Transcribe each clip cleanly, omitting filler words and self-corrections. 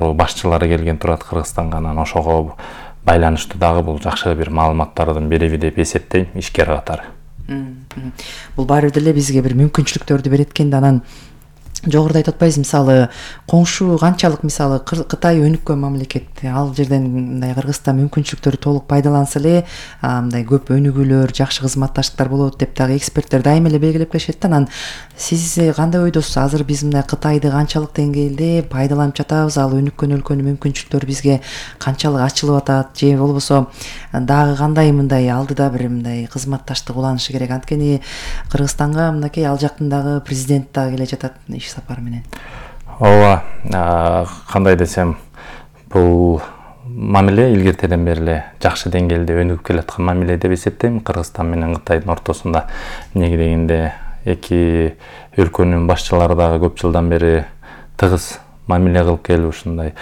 башчылары келген турат Кыргызстанга, анан ошого байланыштуу дагы бул жакшы бир маалыматтардын бириби деп эсептейм ишкер катары. Бул баары деле бизге бир мүмкүнчүлүктөрдү берет экен да. Анан жогоруда айтып атпайсыз, мисалы коңшу канчалык мисалы Кытай өнүккөн мамлекет, ал жерден мындай Кыргызстан мүмкүнчүлүктөрү толук пайдаланса эле мындай көп өнүгүүлөр, жакшы кызматташтыктар болот деп дагы эксперттер дайыма эле белгилеп келишет да. Анан сиз кандай ойдосуз? Азыр биз мындай Кытайды канчалык деңгээлде пайдаланып жатабыз? Ал өнүккөн өлкөнүн мүмкүнчүлүктөрү бизге канчалык ачылып атат, же болбосо дагы кандай мындай алдыда бир мындай кызматташтык уланышы керек? Анткени Кыргызстанга мынакей ал жактын дагы президент дагы келе жатат иш сапар менен. Ооба, кандай десем, бул мамиле илгертеден бери эле жакшы деңгээлде өнүгүп келаткан мамиле деп эсептейм. Кыргызстан менен Кытайдын ортосунда эмнеге дегенде эки өлкөнүн башчылары дагы көп жылдан бери тыгыз мамиле кылып келип ушундай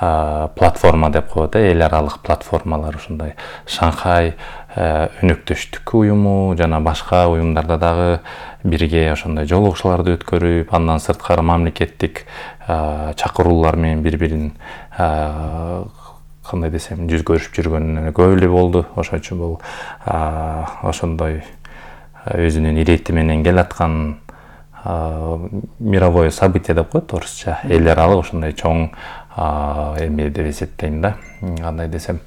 платформа деп коет, эл аралык платформалар, ушундай Шанхай өнөктөштүк уюму жана башка уюмдарда дагы бирге ошондой жолугушууларды өткөрүп, андан сырткары мамлекеттик чакыруулар менен бири-бирин кандай десем, жүз көрүшүп жүргөнүнө көп эле болду. Ошон үчүн бул ошондой өзүнүн ирети менен келаткан мировое событие деп коет орусча, эл аралык ошондой чоң эме деп эсептейм да. Кандай десем,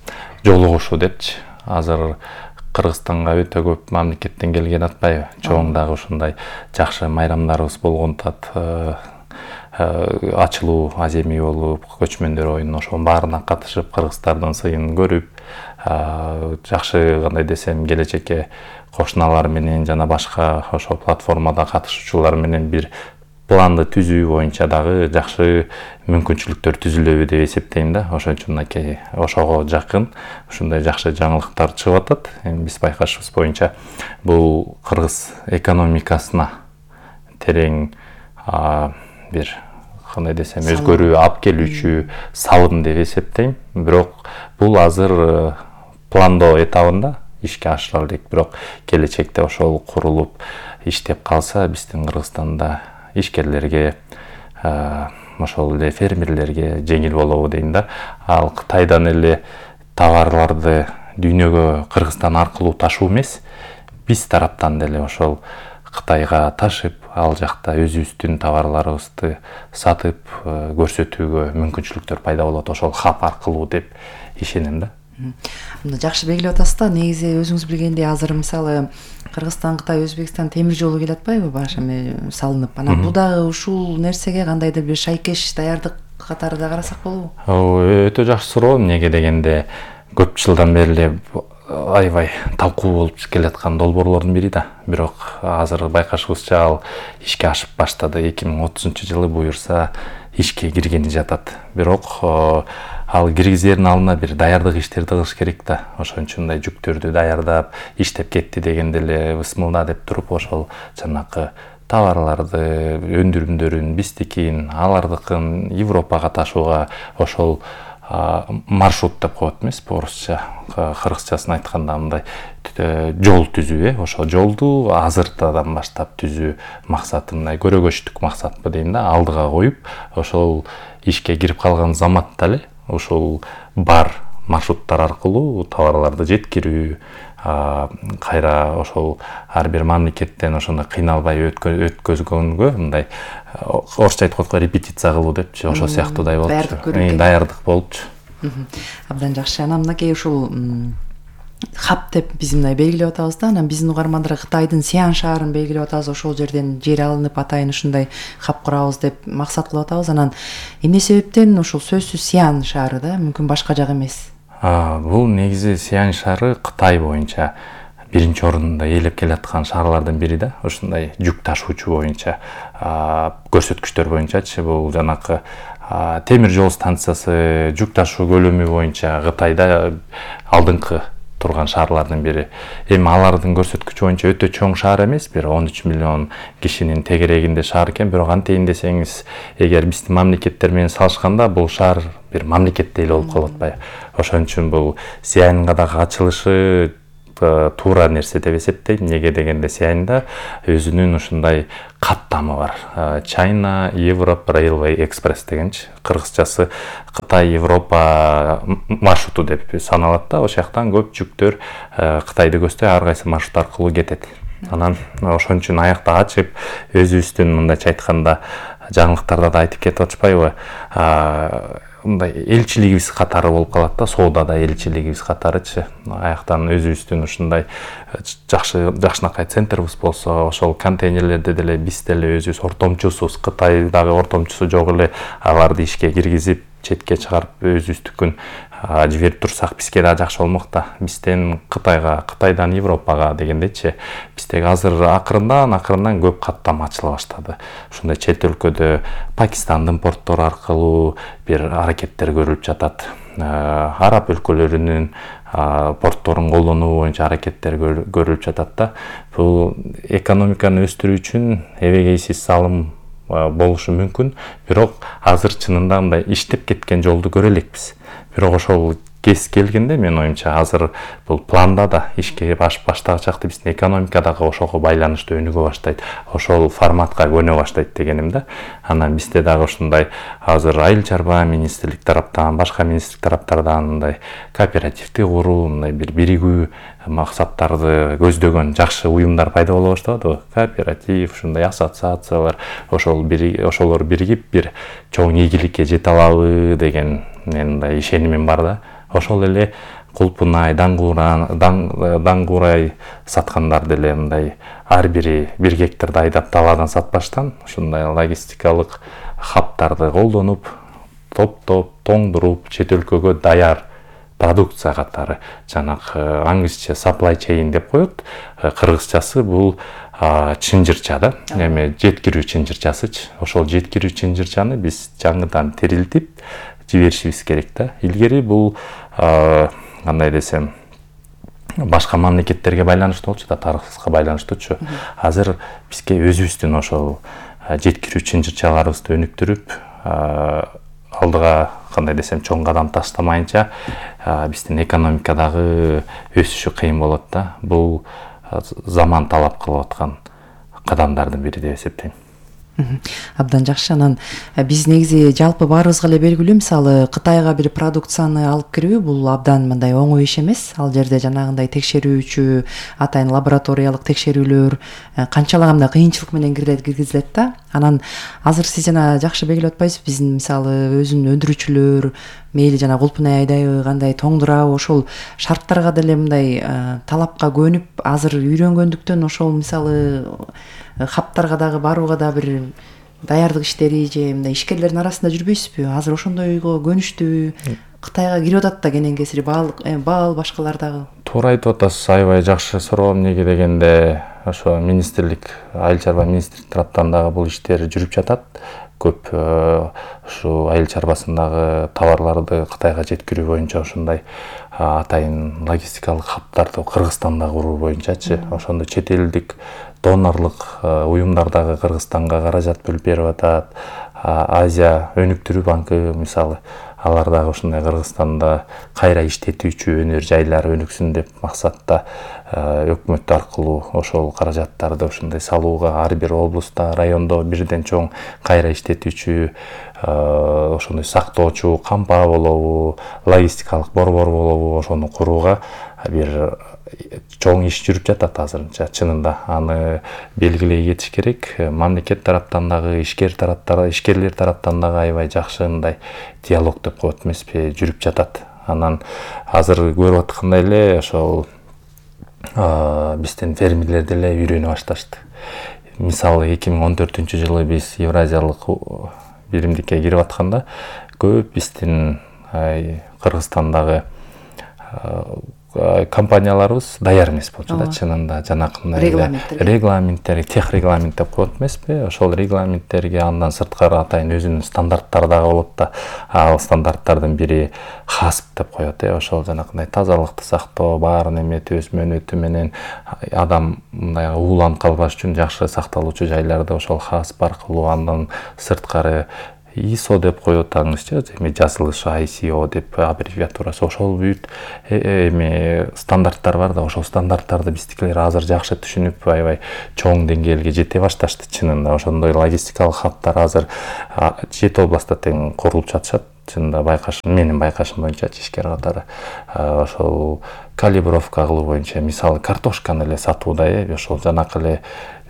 жолугушуу депчи. Азыр Кыргызстанга өтө көп мамлекеттен келген атпайбы? Чоң дагы ушундай жакшы майрамдарыбыз болгон тат, ачылуу аземи болуп, көчмөндөр оюну, ошонун баарына катышып, кыргыздардын сыйын көрүп, жакшы кандай десем, келечекке кошуналар менен жана башка ошол платформада катышуучулар менен бир планды түзүү боюнча дагы жакшы мүмкүнчүлүктөр түзүлөбү деп эсептейм да. Ошон үчүн мынакей ошого жакын ушундай жакшы жаңылыктар чыгып атат. Эми биз байкашыбыз боюнча бул кыргыз экономикасына терең бир кандай десем, өзгөрүү алып келүүчү салым деп эсептейм. Бирок бул азыр пландоо этабында ишке ашырыла элек. Бирок келечекте ошол курулуп иштеп калса, биздин Кыргызстанда ишкерлерге, ошол эле фермерлерге жеңил болобу дейм да. Ал Кытайдан эле товарларды дүйнөгө Кыргызстан аркылуу ташуу эмес, биз тараптан деле ошол Кытайга ташып, ал жакта өзүбүздүн товарларыбызды сатып көрсөтүүгө мүмкүнчүлүктөр пайда болот, ошол хаб аркылуу деп ишенем да. Жакшы белгилеп атасыз да. Негизи өзүңүз билгендей азыр мисалы Кыргызстан, Кытай, Өзбекстан темир жолу келе атпайбы? Баш эме салынып. Анан бул дагы ушул нерсеге кандайдыр бир шайкеш даярдык катары да карасак болобу? Өтө жакшы суроо. Эмнеге дегенде көп жылдан бери эле аябай талкуу болуп келаткан долбоорлордун бири да. Бирок азыр байкашыбызча ал ишке ашып баштады. 2030-жылы буюрса ишке киргени жатат. Бирок ал киргизердин алдына бир даярдык иштерди кылыш керек да. Ошон үчүн мындай жүктөрдү даярдап, иштеп кетти дегенде эле бысмылда деп туруп, ошол жанакы товарларды, өндүрүмдөрүн, биздикин, алардыкын Европага ташууга ошол маршрут деп коет эмеспи орусча, кыргызчасын айтканда мындай жол түзүү, ошол жолду азыртадан баштап түзүү максаты мындай көрөгөчтүк максатпы дейм да, алдыга коюп, ошол ишке кирип калган заматта эле ошол бар маршруттар аркылуу товарларды жеткирүү, кайра ошол ар бир мамлекеттен ошондой кыйналбай өткөзгөнгө мындай орусча айтып коет, репетиция кылуу депчи, ошол сыяктуудай болчу. Даярдык болчу. Абдан жакшы. Анан мынакей ушул хаб деп биз мындай белгилеп атабыз да. Анан биздин угармандар Кытайдын Сиан шаарын белгилеп атабыз. Ошол жерден жер алынып атайын ушундай хаб курабыз деп максат кылып атабыз. Анан эмне себептен ушул сөзсүз Сиан шаары да, мүмкүн башка жак эмес? Бул негизи Сиан шаары Кытай боюнча биринчи орунда ээлеп келаткан шаарлардын бири да. Ушундай жүк ташуучу боюнча, көрсөткүчтөр боюнчачы, бул жанакы темир жол станциясы жүк ташуу көлөмү боюнча Кытайда алдыңкы турган шаарлардын бири. Эми алардын көрсөткүчү боюнча өтө чоң шаар эмес, бир 13 миллион кишинин тегерегинде шаар экен, бирок антейин десеңиз, эгер биздин мамлекеттер менен салышканда бул шаар бир мамлекеттей эле болуп калып атпайбы. Ошон үчүн бул Сианга дагы ачылышы туура нерсе деп эсептейм. Неге дегенде Сиайнда өзүнүн ушундай каттамы бар. China Europe Railway Express дегенчи. Кыргызчасы Кытай Европа маршруту деп саналат да. Ошол жактан көп жүктөр Кытайды көздөй ар кайсы маршрут аркылуу кетет. Анан ошон үчүн аякта ачып өзүбүздүн мындайча айтканда жаңылыктарда да айтып кетип атышпайбы? Мындай элчилигибиз катары болуп калат да, соодада элчилигибиз катарычы. Аяктан өзүбүздүн ушундай жакшынакай центрибиз болсо, ошол контейнерлерди деле биз деле өзүбүз ортомчусубуз, Кытайдагы ортомчусу жок эле аларды ишке киргизип, четке чыгарып өзүбүздүкүн жиберип турсак бизге да жакшы болмок да. Бизден Кытайга, Кытайдан Европага дегендечи, биздеги азыр акырындан көп каттама ачыла баштады. Ушундай чет өлкөдө Пакистандын порттору аркылуу бир аракеттер көрүлүп жатат. Араб өлкөлөрүнүн портторун колдонуу боюнча аракеттер көрүлүп жатат да. Бул экономиканы өстүрүү үчүн эбегейсиз салым болушу мүмкүн, бирок азыр чынында мындай иштеп кеткен жолду көрө элекпиз. Бирок ошол кез келгенде мен оюмча азыр бул планда да ишке баштагычакты биздин экономика дагы ошого байланыштуу өнүгө баштайт, ошол форматка көнө баштайт дегеним да. Анан бизде дагы ушундай азыр айыл чарба министрлик тараптан, башка министрлик тараптардан мындай кооперативди куруу, мындай бир биригүү максаттарды көздөгөн жакшы уюмдар пайда боло баштабадыбы? Кооператив, ушундай ассоциациялар, ошолор биригип бир чоң ийгиликке жете алабы деген мындай ишенимим бар да. Ошол эле Кулпунай, Даңгурай саткандар деле мындай ар бири 1 гектарды айдап даладан сатпаштан ушундай логистикалык хабтарды колдонуп, топтоп, тоңдуруп, чет өлкөгө даяр продукция катары, жанагы англисче supply chain деп коет. Кыргызчасы бул чынжырча да, эми жеткирүү чынжырчасычы. Ошол жеткирүү чынжырчаны биз жаңыдан тирилтип жиберишибиз керек да. Илгери бул кандай десем, башка мамлекеттерге байланыштуу болчу да, тарыхыбызга байланыштуучу. Азыр бизге өзүбүздүн ошол жеткирүү чынжырчаларыбызды өнүктүрүп, алдыга кандай десем чоң кадам таштамайынча биздин экономикадагы өсүшү кыйын болот да. Бул заман талап кылып аткан кадамдардын бири деп эсептейм. Абдан жакшы. Анан биз негизи жалпы баарыбызга эле белгилүү, мисалы Кытайга бир продукцияны алып кирүү бул абдан мындай оңой иш эмес. Ал жерде жанагындай текшерүүчү, атайын лабораториялык текшерүүлөр канчалагандай кыйынчылык менен киргизилет да. Анан азыр сиз жана жакшы белгилеп атпайсызбы, биздин мисалы өзүнүн өндүрүүчүлөр мейли жана Кулпунай айдайбы, кандай тоңдурабы, ошол шарттарга деле мындай талапка көнүп азыр үйрөнгөндүктөн ошол мисалы хаптарга дагы барууга да бир даярдык иштери же мындай ишкерлердин арасында жүрбөйсүзбү? Азыр ошондойго көнүштү, Кытайга кирип атат да кенен кесири баал башкалар дагы. Туура айтып атасыз, аябай жакшы суроо. Неге дегенде ошо министрлик, айыл чарба министрлик тараптан дагы бул иштер жүрүп жатат. Көп ушу айыл чарбасындагы товарларды Кытайга жеткирүү боюнча ушундай атайын логистикалык хаптарды Кыргызстанда куруу боюнчачы, ошондо чет элдик донорлук уюмдар дагы Кыргызстанга каражат бөлүп берип атат. Азия өнүктүрүү банкы мисалы, алар дагы ушундай Кыргызстанда кайра иштетүүчү өнөр жайлар өнүксүн деп максатта өкмөт аркылуу ошол каражаттарды ушундай салууга ар бир облустта, райондо бирден чоң кайра иштетүүчү ошондой сактоочу кампа болобу, логистикалык борбор болобу, ошону курууга бир чоң иш жүрүп жатат азырынча. Чынында аны белгилей кетиш керек. Мамлекет тараптан дагы, ишкерлер тараптан дагы аябай жакшы мындай диалог деп коет эмеспи, жүрүп жатат. Анан азыр көрүп аткандай эле ошол биздин фермерлер деле үйрөнө башташты. Мисалы 2014-жылы биз Евразиялык биримдикке кирип атканда көп биздин Кыргызстандагы компанияларыбыз даяр эмес болчу да, чынында жанакындай регламенттер, тех регламент деп коет эмеспи? Ошол регламенттерге андан сырткары атайын өзүнүн стандарттары дагы болот да. Ал стандарттардын бири хасп деп коет, ошол жанакындай тазалыкты сактоо, баарын эметип өз мөөнөтү менен адам мындай ууланып калбаш үчүн жакшы сакталуучу жайларды ошол хасп аркылуу, андан сырткары ISO деп коюп атаңызчы, эми жазылышы ICO деп аббревиатурасы, ошол бүт эми стандарттар бар да, ошол стандарттарды биздикилер азыр жакшы түшүнүп, аябай чоң деңгээлге жете башташты чынында. Ошондой логистикалык хабтар азыр 7 областта тең курулуп жатышат. Чынында менин байкашым боюнча ишкер катары ошол калибровка кылуу боюнча, мисалы картошканы эле сатууда, ошол жанакы эле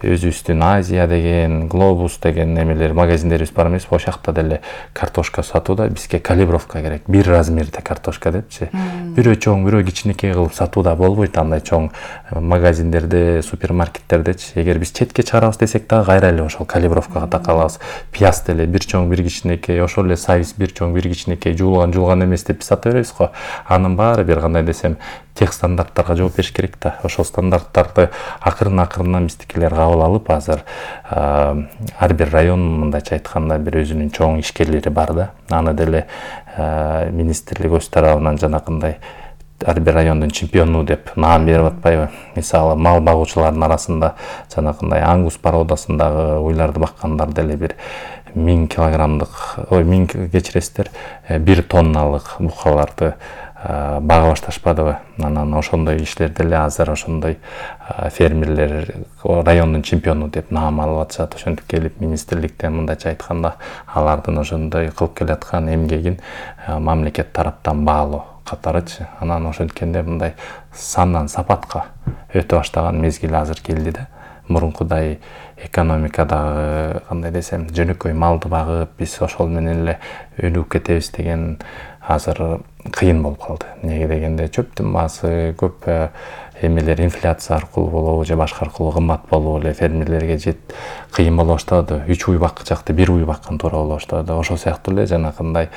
өзүбүздүн Азия деген, Глобус деген эмелер магазиндерибиз бар эмеспи, ошол жакта деле картошка сатууда. Бизге калибровка керек, бир размерде картошка депчи. Бирөө чоң, бирөө кичинекей кылып сатууда болбойт андай чоң магазиндерде, супермаркеттердечи. Эгер биз четке чыгарабыз десек дагы кайра эле ошол калибровкага такалабыз. Пияз деле бир чоң, бир кичинекей, ошол эле сайыз бир чоң, бир кичинекей, жуулган эмес деп сата беребиз го. Анын баары бир кандай десем тех стандарттарга жооп бериш керек да. Ошол стандарттарды акырын биздикилер кабыл алып, азыр ар бир район мындайча айтканда бир өзүнүн чоң ишкерлери бар да. Аны деле министрлик өз тарабынан жанакындай ар бир райондун чемпиону деп наам берип атпайбы? Мисалы, мал багуучулардын арасында жанакындай ангус породасындагы уйларды баккандар деле бир 1000 килограммдык, 1000 кечиресиздер, 1 тонналык букаларды бага башташпадыбы? Анан ошондой иштер деле азыр ошондой фермерлер райондун чемпиону деп наам алып атышат. Ошентип келип министрликтен мындайча айтканда алардын ошондой кылып келаткан эмгегин мамлекет тараптан баалоо катарычы. Анан ошенткенде мындай сандан сапатка өтө баштаган мезгил азыр келди да. Мурункудай экономикадагы кандай десем жөнөкөй малды багып биз ошол менен эле өнүгүп кетебиз деген азыр кыйын болуп калды. Неге дегенде чөптүн баасы көп эмелер инфляция аркылуу болобу же башка аркылуу кымбат болуп эле фермерлерге кыйын боло баштады. 3 уй бакчакты 1 уй баккан туура боло баштады. Ошол сыяктуу эле жанакындай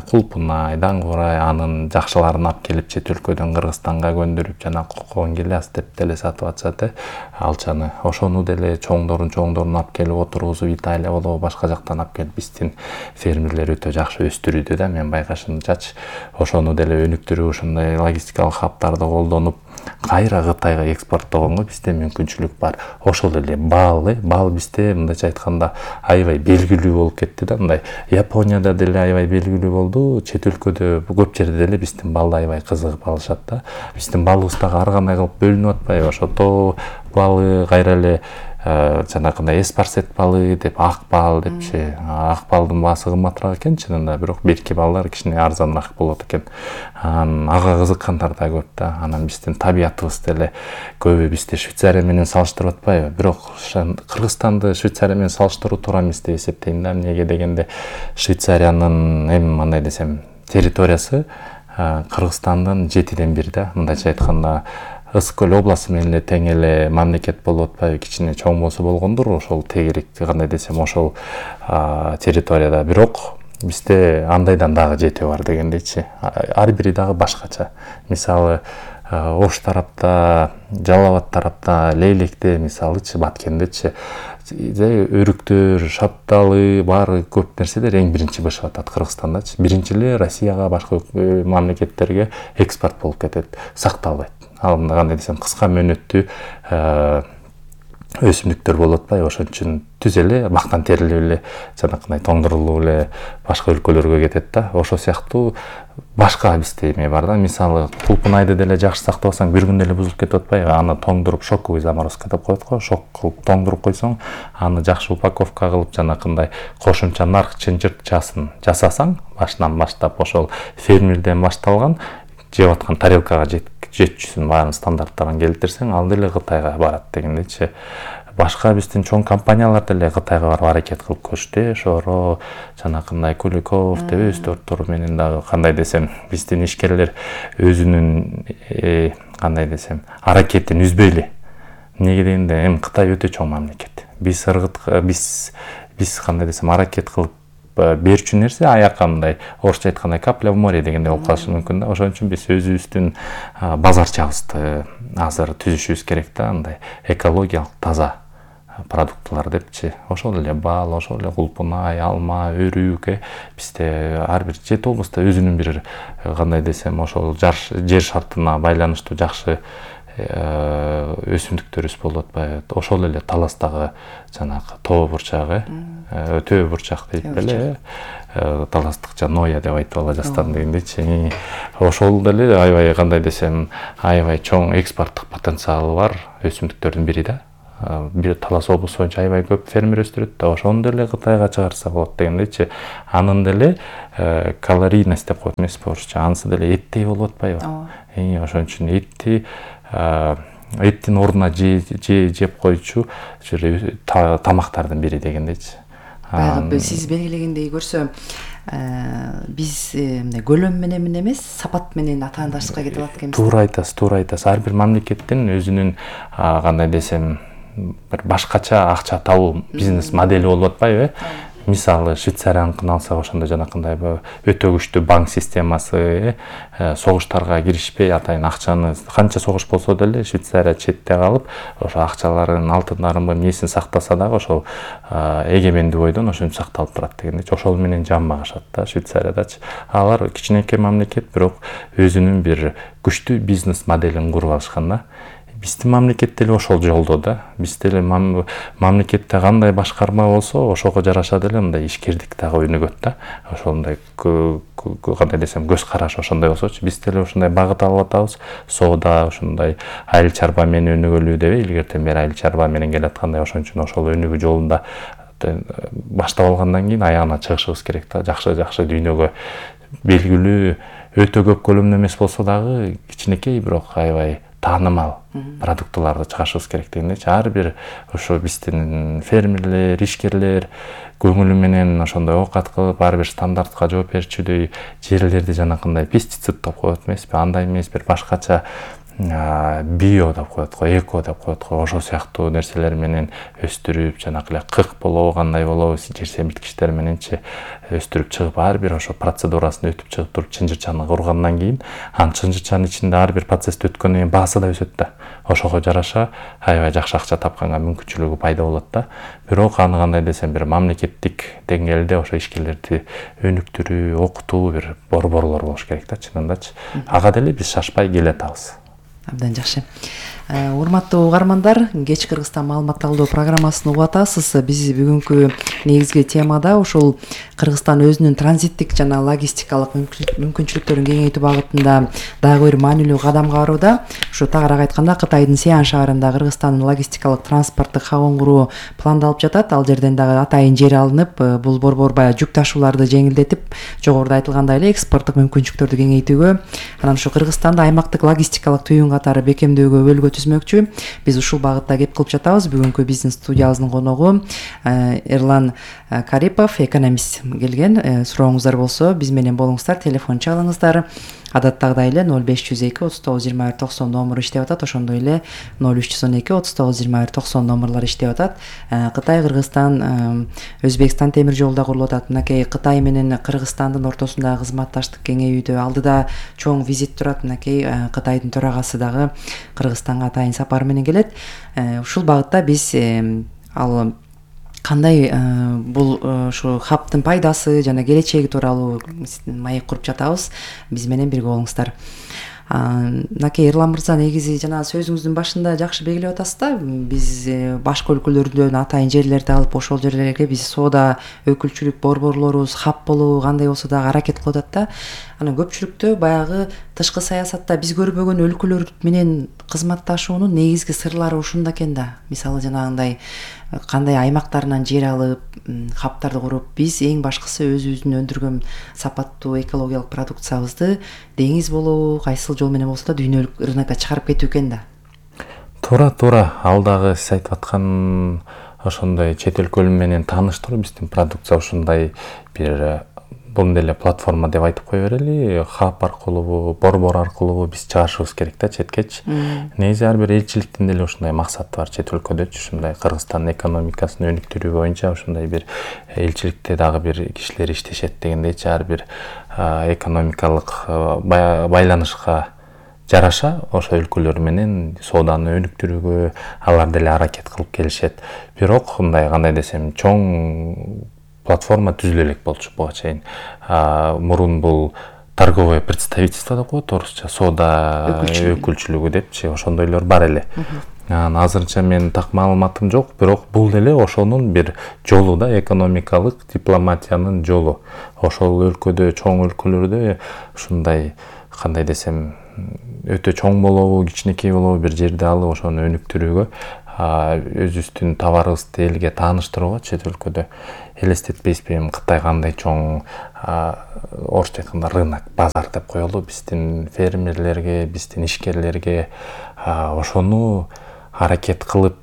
кулпунай, даңгурай анын жакшыларын алып келип чет өлкөдөн Кыргызстанга көндүрүп жана кокон гиляс деп деле сатып атышат алчаны. Ошону деле чоңдорун алып келип отургузуп Италия болобу башка жактан алып келип биздин фермерлер өтө жакшы өстүрүүдө да. Мен байкашымчачы ошону деле өнүктүрүп, ошондой логистикалык хабтарды колдонуп кайра Кытайга экспорттогонго бизде мүмкүнчүлүк бар. Ошол эле бал бизде мындайча айтканда аябай белгилүү болуп кетти да. Мындай Японияда деле аябай белгилүү болду, чет өлкөдө көп жерде деле биздин балды аябай кызыгып алышат да. Биздин балыбыз дагы ар кандай кылып бөлүнүп атпайбы? Ошо тоо балы, кайра эле жанакындай эспарсет балы деп, ак бал депчи. Ак балдын баасы кымбатыраак экен чынында, бирок берки балдар кичине арзаныраак болот экен. Ага кызыккандар да көп да. Анан биздин табиятыбыз деле көбү бизди Швейцария менен салыштырып атпайбы? Бирок Кыргызстанды Швейцария менен салыштыруу туура эмес деп эсептейм да. Эмнеге дегенде Швейцариянын мындай десем территориясы Кыргызстандын 7/1 да. Мындайча айтканда Ысык көл областы менен эле тең эле мамлекет болуп атпайбы? Кичине чоң болсо болгондур ошол тегерек кандай десем ошол территорияда. Бирок бизде андайдан дагы жети бар дегендейчи. Ар бири дагы башкача. Мисалы Ош тарапта, Жалал Абад тарапта, Лейлекте мисалычы, Баткендечи өрүктөр, шапталы, баары көп нерселер эң биринчи бышып атат Кыргызстандачы. Биринчи эле Россияга, башка мамлекеттерге экспорт болуп кетет, сакталбайт. Ал кандай десем кыска мөөнөттүү өсүмдүктөр болуп атпайбы? Ошон үчүн түз эле бактан терилип эле жанакындай тоңдурулуп эле башка өлкөлөргө кетет да. Ошол сыяктуу башка бизде эме бар да. Мисалы кулпунайды деле жакшы сактабасаң бир күндө эле бузулуп кетип атпайбы? Аны тоңдуруп шоковый заморозка деп коет го. Шок кылып тоңдуруп койсоң, аны жакшы упаковка кылып жанакындай кошумча нарк чынжыртчасын жасасаң, башынан баштап ошол фермерден башталган жеп аткан тарелкага жетчүсүн баарын стандарттарын келтирсең, ал деле Кытайга барат дегендейчи. Башка биздин чоң компаниялар деле Кытайга барып аракет кылып көрүштү. Шоро, жанакындай Куликов деп өз тортору менен дагы кандай десем биздин ишкерлер өзүнүн кандай десем аракетин үзбөйлү. Неге дегенде эми Кытай өтө чоң мамлекет. Биз кандай десем аракет кылып берчү нерсе аяка мындай орусча айткандай капля в море дегендей болуп калышы мүмкүн да. Ошон үчүн биз өзүбүздүн базарчабызды азыр түзүшүбүз керек да. Мындай экологиялык таза продуктлар депчи. Ошол эле бал, ошол эле кулпунай, алма, өрүк бизде ар бир 7 областта өзүнүн бир кандай десем ошол жер шартына байланыштуу жакшы өсүмдүктөрүбүз болуп атпайбы. Ошол эле Таластагы жанагы тоо бурчагы, төбө бурчак дейт эле. Таластык Ноя деп айтып ала жастан дегендейчи. Ошол деле аябай кандай десем, аябай чоң экспорттук потенциалы бар өсүмдүктөрдүн бири да. Бир Талас облусу боюнча аябай көп фермер өстүрөт да, ошону деле Кытайга чыгарса болот дегендейчи. Анын деле калорийность деп коет эмеспи орусча, анысы деле эттей болуп атпайбы. Ошон үчүн эттин ордуна жеп койчу тамактардын бири дегендейчи. Баягы сиз белгилегендей көрсө, биз мындай көлөм менен эмес, сапат менен атаандашка кетип атат экенбиз. Туура айтасыз. Ар бир мамлекеттин өзүнүн кандай десем, бир башкача акча табуу бизнес модели болуп атпайбы? Мисалы, Швейцарияныкын алсак, ошондо жанакындай өтө күчтүү банк системасы, согуштарга киришпей атайын акчаны, канча согуш болсо деле Швейцария четте калып, ошо акчаларын, алтындарын эмнесин сактаса дагы ошол эгемендүү бойдон ошентип сакталып турат дегендейчи. Ошол менен жан багышат да Швейцариядачы. Алар кичинекей мамлекет, бирок өзүнүн бир күчтүү бизнес моделин куруп алышкан да. Биздин мамлекет деле ошол жолдо да. Биз деле мамлекетте кандай башкарма болсо, ошого жараша деле мындай ишкердик дагы өнүгөт да. Ошондой кандай десем, көз караш ошондой болсочу, биз деле ошондой багыт алып атабыз. Соода ошондой айыл чарба менен өнүгөлүү деп илгертен бери айыл чарба менен келаткандай, ошон үчүн ошол өнүгүү жолунда баштап алгандан кийин аягына чыгышыбыз керек да. Жакшы дүйнөгө белгилүү, өтө көп көлөмдө эмес болсо дагы кичинекей, бирок аябай таанымал продуктыларды чыгарышыбыз керек дегендейчи. Ар бир ошо биздин фермерлер, ишкерлер көңүлү менен ошондой оокат кылып, ар бир стандартка жооп берчүдөй жерлерди жанакындай пестицид деп коет эмеспи, андай эмес, бир башкача био деп коет го, эко деп коет го, ошол сыяктуу нерселер менен өстүрүп, жанагы эле кык болобу, кандай болобу, жер семирткичтер мененчи өстүрүп чыгып, ар бир ошо процедурасын өтүп чыгып туруп чынжырчаны кургандан кийин, анын чынжырчанын ичинде ар бир процессти өткөндөн кийин баасы да өсөт да. Ошого жараша аябай жакшы акча тапканга мүмкүнчүлүгү пайда болот да. Бирок аны кандай десем, бир мамлекеттик деңгээлде ошо ишкерлерди өнүктүрүү, окутуу бир борборлор болуш керек да, чынындачы. Ага деле биз шашпай келе атабыз. Абдан жакшы. Урматтуу угармандар, Кеч Кыргызстан маалымат алуу программасын угуп атасыз. Биз бүгүнкү негизги темада ошол Кыргызстан өзүнүн транзиттик жана логистикалык мүмкүнчүлүктөрүн кеңейтүү багытында дагы бир маанилүү кадамга барууда. Ушу тагыраак айтканда, Кытайдын Сиан шаарында Кыргызстандын логистикалык транспорттук хабын куруу пландалып жатат. Ал жерден дагы атайын жер алынып, бул борбор баягы жүк ташууларды жеңилдетип, жогоруда айтылгандай эле экспорттук мүмкүнчүлүктөрдү кеңейтүүгө, анан ушу Кыргызстанда аймактык логистикалык түйүн катары бекемдөөгө бөлгө түзмөкчү. Биз ушул багытта кеп кылып жатабыз. Бүгүнкү биздин студиябыздын коногу Эрлан Карипов, экономист келген. Сурооңуздар болсо биз менен болуңуздар, телефон чалыңыздар. Адаттагыдай эле 0502 39 21 90 номуру иштеп атат. Ошондой эле 0312 39 21 90 номурлары иштеп атат. Кытай, Кыргызстан, Өзбекстан темир жолу да курулуп атат. Мынакей Кытай менен Кыргызстандын ортосундагы кызматташтык кеңейүүдө алдыда чоң визит турат. Мынакей Кытайдын төрагасы дагы Кыргызстанга атайын сапар менен келет. Ушул багытта биз ал кандай бул ушу хабтын пайдасы жана келечеги тууралуу маек куруп жатабыз. Биз менен бирге болуңуздар. Мынакей Эрлан мырза, негизи жана сөзүңүздүн башында жакшы белгилеп атасыз да, биз башка өлкөлөрдөн атайын жерлерди алып, ошол жерлерге биз соода өкүлчүлүк борборлорубуз хаб болуу кандай болсо дагы аракет кылып атат да. Анан көпчүлүктө баягы тышкы саясатта биз көрбөгөн өлкөлөр менен кызматташуунун негизги сырлары ушунда экен да. Мисалы жанагындай кандай аймактарынан жер алып, хабтарды куруп, биз эң башкысы өзүбүздүн өндүргөн сапаттуу экологиялык продукциябызды деңиз болобу, кайсыл жол менен болсо да дүйнөлүк рынокко чыгарып кетүү экен да. Туура. Ал дагы сиз айтып аткан ошондой чет өлкөлөр менен тааныштыруу, биздин продукция ушундай бир бул деле платформа деп айтып кое берели, хаб аркылуу, борбор аркылуу биз чыгарышыбыз керек да четкечи. Негизи ар бир элчиликтин деле ушундай максаты бар чет өлкөдөчү, ушундай Кыргызстандын экономикасын өнүктүрүү боюнча ушундай бир элчиликте дагы бир кишилер иштешет дегендейчи. Ар бир экономикалык байланышка жараша ошо өлкөлөр менен сооданы өнүктүрүүгө алар деле аракет кылып келишет. Бирок мындай кандай десем, чоң платформа түзүлө элек болчу буга чейин. Мурун бул торговое представительство деп коет орусча, соода өкүлчүлүгү депчи, ошондойлор бар эле. Азырынча мен так маалыматым жок, бирок бул деле ошонун бир жолу да, экономикалык дипломатиянын жолу. Ошол өлкөдө, чоң өлкөлөрдө ушундай, кандай десем, өтө чоң болобу, кичинекей болобу, бир жерде алып ошону өнүктүрүүгө, өзүбүздүн товарыбызды элге тааныштырууга чет өлкөдө элестетпейсизби, Кытай кандай чоң, орусча айтканда рынок, базар деп коелу, биздин фермерлерге, биздин ишкерлерге, ошону аракет кылып,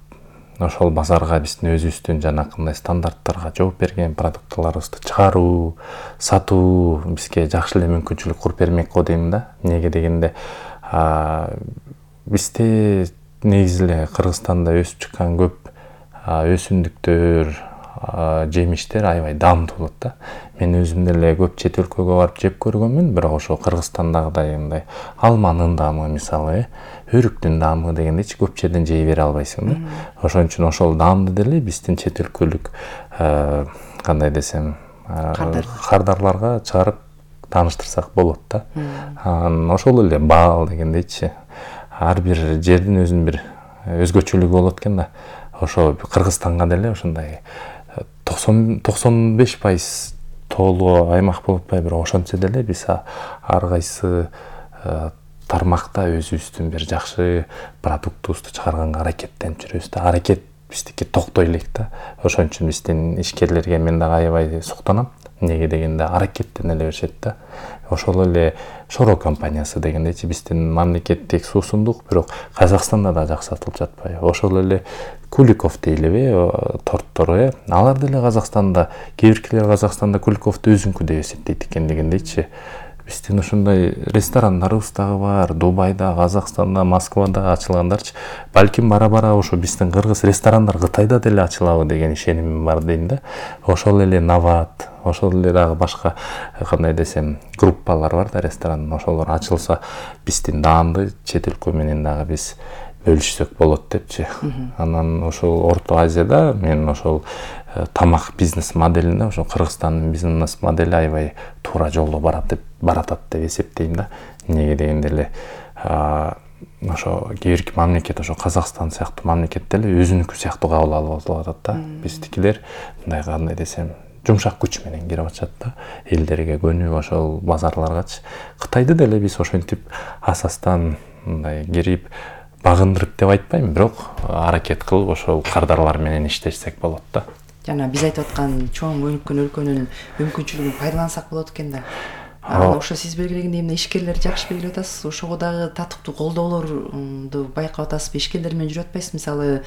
ошол базарга биздин өзүбүздүн жанакындай стандарттарга жооп берген продуктларыбызды чыгаруу, сатуу бизге жакшы эле мүмкүнчүлүк куруп бермек го дейм да. Эмнеге дегенде, бизде негизи эле Кыргызстанда өсүп чыккан көп өсүмдүктөр, жемиштер аябай даамдуу болот да. Мен өзүм деле көп чет өлкөгө барып жеп көргөнмүн, бирок ошо Кыргызстандагыдай мындай алманын даамы мисалы, өрүктүн даамы дегендейчи көп жерден жей бере албайсың да. Ошон үчүн ошол даамды деле биздин чет өлкөлүк, кандай десем, кардарларга чыгарып тааныштырсак болот да. Ошол эле баал дегендейчи, ар бир жердин өзүнүн бир өзгөчөлүгү болот экен да. Ошо Кыргызстанга деле ушундай 95% тоолуу аймак болуп атпайбы, бирок ошентсе деле биз ар кайсы тармакта өзүбүздүн бир жакшы продуктубузду чыгарганга аракеттенип жүрөбүз да. Аракет биздики токтой элек да. Ошон үчүн биздин ишкерлерге мен дагы аябай суктанам. Эмнеге дегенде аракеттене эле беришет да. Ошол эле Шоро компаниясы дегендейчи, биздин мамлекеттик суусундук, бирок Казакстанда да жакшы сатылып жатпайбы. Ошол эле Куликов дейлиби, торттор, алар деле Казакстанда, кээ биркилер Казакстанда Куликовду өзүнкү деп эсептейт экен дегендейчи. Биздин ушундай ресторандарыбыз дагы бар, Дубайда, Казакстанда, Москвада ачылгандарчы. Балким бара-бара ошо биздин кыргыз ресторандар Кытайда деле ачылабы деген ишенимим бар дейм да. Ошол эле Нават, ошол эле дагы башка, кандай десем, группалар бар да ресторан, ошолор ачылса биздин даамды чет өлкө менен дагы биз бөлүшсөк болот депчи. Анан ошол Орто Азияда мен ошол тамак бизнес моделинде, ошо Кыргызстандын бизнес модели аябай туура жолдо баратат деп эсептейм да. Эмнеге дегенде эле ошо кээ бирки мамлекет, ошо Казакстан сыяктуу мамлекет деле өзүнүкү сыяктуу кабыл алып атат да. Биздикилер мындай, кандай десем, жумшак күч менен кирип атышат да, элдерге көнүп ошол базарларгачы. Кытайды деле биз ошентип асастан мындай кирип багындырып деп айтпайм, бирок аракет кылып ошол кардарлар менен иштешсек болот да. Жана биз айтып аткан чоң өнүккөн өлкөнүн мүмкүнчүлүгүн пайдалансак болот экен да. Ошо сиз белгилегендей эмне ишкерлерди жакшы белгилеп атасыз, ошого дагы татыктуу колдоолорду байкап атасызбы? Ишкерлер менен жүрүп атпайсызбы? Мисалы,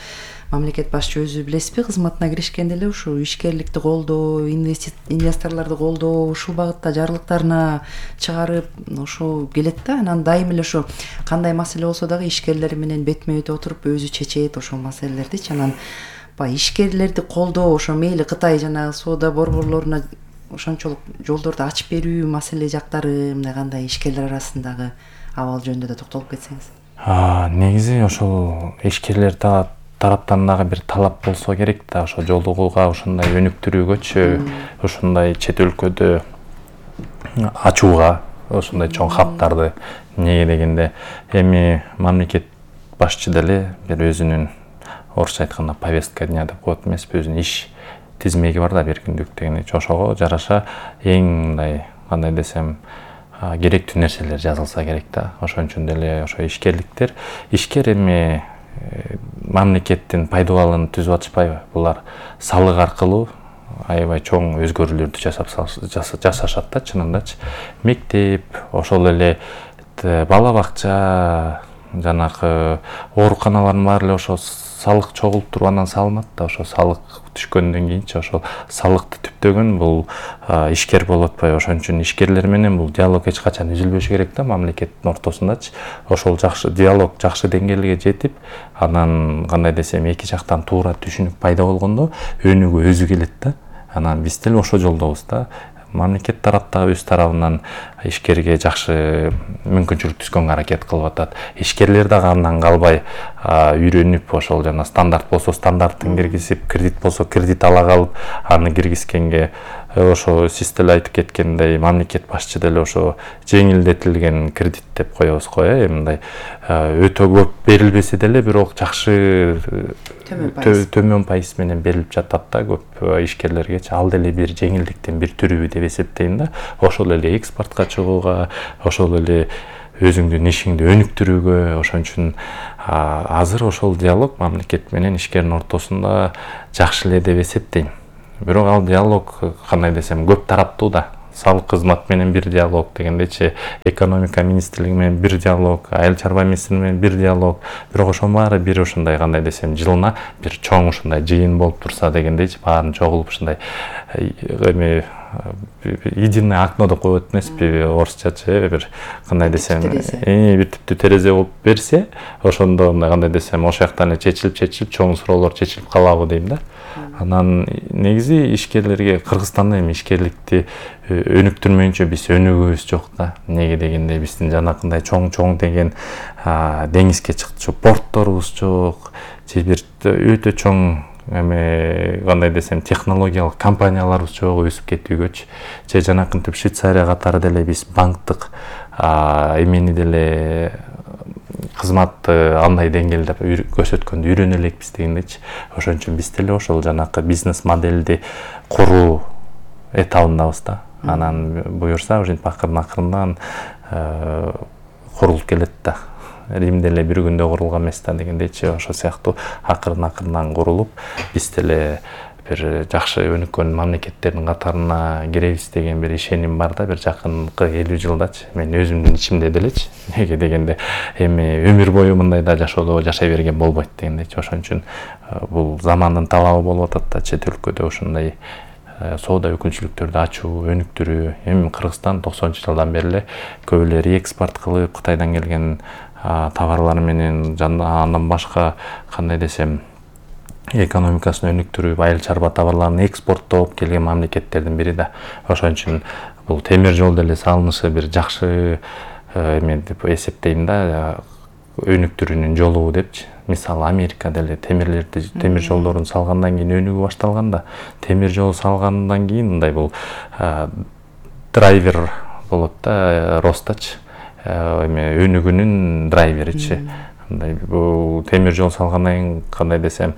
мамлекет башчы өзү билесизби, кызматына киришкенде эле ушу ишкерликти колдоо, инвесторлорду колдоо, ушул багытта жарлыктарына чыгарып ошо келет да. Анан дайым эле ошо кандай маселе болсо дагы ишкерлер менен бетме бет отуруп өзү чечет ошол маселелердичи. Анан баягы ишкерлерди колдоо, ошо мейли Кытай жанагы соода борборлоруна ошончолук жолдорду ачып берүү маселе жактары, мындай кандай ишкерлер арасындагы абал жөнүндө да токтолуп кетсеңиз. Негизи ошол ишкерлер тараптан дагы бир талап болсо керек да, ошо жолугууга ушундай өнүктүрүүгөчү, ушундай чет өлкөдө ачууга, ушундай чоң хабтарды. Эмнеге дегенде, эми мамлекет башчы деле бир өзүнүн, орусча айтканда, повестка дня деп коет эмеспи, өзүнүн иш тизмеги бар да, бир күндүк дегендейчи. Ошого жараша эң мындай, кандай десем, керектүү нерселер жазылса керек да. Ошон үчүн деле ошо ишкер эми мамлекеттин пайдубалын түзүп атышпайбы? Булар салык аркылуу аябай чоң өзгөрүүлөрдү жасашат да, чынындачы. Мектеп, ошол эле бала бакча, жанакы ооруканалардын баары эле ошо салык чогултуруп анан салынат да. Ошо салык түшкөндөн кийинчи ошол салыкты түптөгөн бул ишкер болуп атпайбы? Ошон үчүн ишкерлер менен бул диалог эч качан үзүлбөшү керек да, мамлекеттин ортосундачы. Ошол жакшы диалог, жакшы деңгээлге жетип, анан кандай десем, эки жактан туура түшүнүк пайда болгондо өнүгүү өзү келет да. Анан биз деле ошол жолдобуз да. Мамлекет тараптагы өз тарабынан ишкерге жакшы мүмкүнчүлүк түзгөнгө аракет кылып атат. Ишкерлер дагы андан калбай үйрөнүп, ошол жана стандарт болсо стандарттын киргизип, кредит болсо кредит ала калып, аны киргизгенге ошо сиз деле айтып кеткендей мамлекет башчы деле ошо жеңилдетилген кредит деп коебуз го, мындай өтө көп берилбесе деле бирок жакшы төмөн пайыз менен берилип жатат да көп ишкерлергечи. Ал деле бир жеңилдиктин бир түрүбү деп эсептейм да. Ошол эле экспортко чыгууга, ошол эле өзүңдүн ишиңди өнүктүрүүгө. Ошон үчүн азыр ошол диалог мамлекет менен ишкердин ортосунда жакшы эле деп эсептейм. Бирок ал диалог кандай десем көп тараптуу да. Салык кызмат менен бир диалог дегендечи, экономика министрлиги менен бир диалог, айыл чарба министрлиги менен бир диалог. Бирок ошонун баары бир ушундай кандай десем жылына бир чоң ушундай жыйын болуп турса дегендечи, баарын чогулуп ушундай эме единое окно деп коет эмеспи орусчачы, бир кандай десем бир түптүү терезе болуп берсе, ошондо мындай кандай десем ошол жактан эле чечилип чоң суроолор чечилип калабы дейм да. Анан негизи ишкерлерге Кыргызстанда эми ишкерликти өнүктүрмөйүнчө биз өнүгүүбүз жок да. Неге дегенде биздин жанакындай чоң деген деңизге чыкчу портторубуз жок, же бир өтө чоң эме кандай десем технологиялык компанияларыбыз жок өсүп кетүүгөчү. Же жанакынтип Швейцария катары деле биз банктык эмени деле кызматты андай деңгээлде көрсөткөндү үйрөнө элекпиз дегендечи. Ошон үчүн биз деле ошол жанакы бизнес модельди куруу этабындабыз да. Анан буюрса ушинтип акырын-акырындан курулуп келет да. Рим деле бир күндө курулган эмес да дегендечи. Ошол сыяктуу акырын-акырындан курулуп биз деле бир жакшы өнүккөн мамлекеттердин катарына киребиз деген бир ишеним бар да, бир жакынкы 50 жылдачы. Мен өзүмдүн ичимде делечи. Неге дегенде эми өмүр бою мындайда жашоодо жашай берген болбойт дегендечи. Ошон үчүн бул замандын талабы болуп атат да, чет өлкөдө ушундай соода өкүлчүлүктөрдү ачуу, өнүктүрүү. Эми Кыргызстан 90-жылдан бери эле көп эле реэкспорт кылып, Кытайдан келген товарлар менен андан башка кандай десем экономикасын өнүктүрүп, айыл чарба товарларын экспорттоп келген мамлекеттердин бири да. Ошон үчүн бул темир жол деле салынышы бир жакшы эме деп эсептейм да, өнүктүрүүнүн жолу депчи. Мисалы Америка деле темир жолдорун салгандан кийин өнүгүү башталган да. Темир жол салгандан кийин мындай бул драйвер болот да, ростачы. Эме өнүгүүнүн драйверичи. Мындай бул темир жол салгандан кийин кандай десем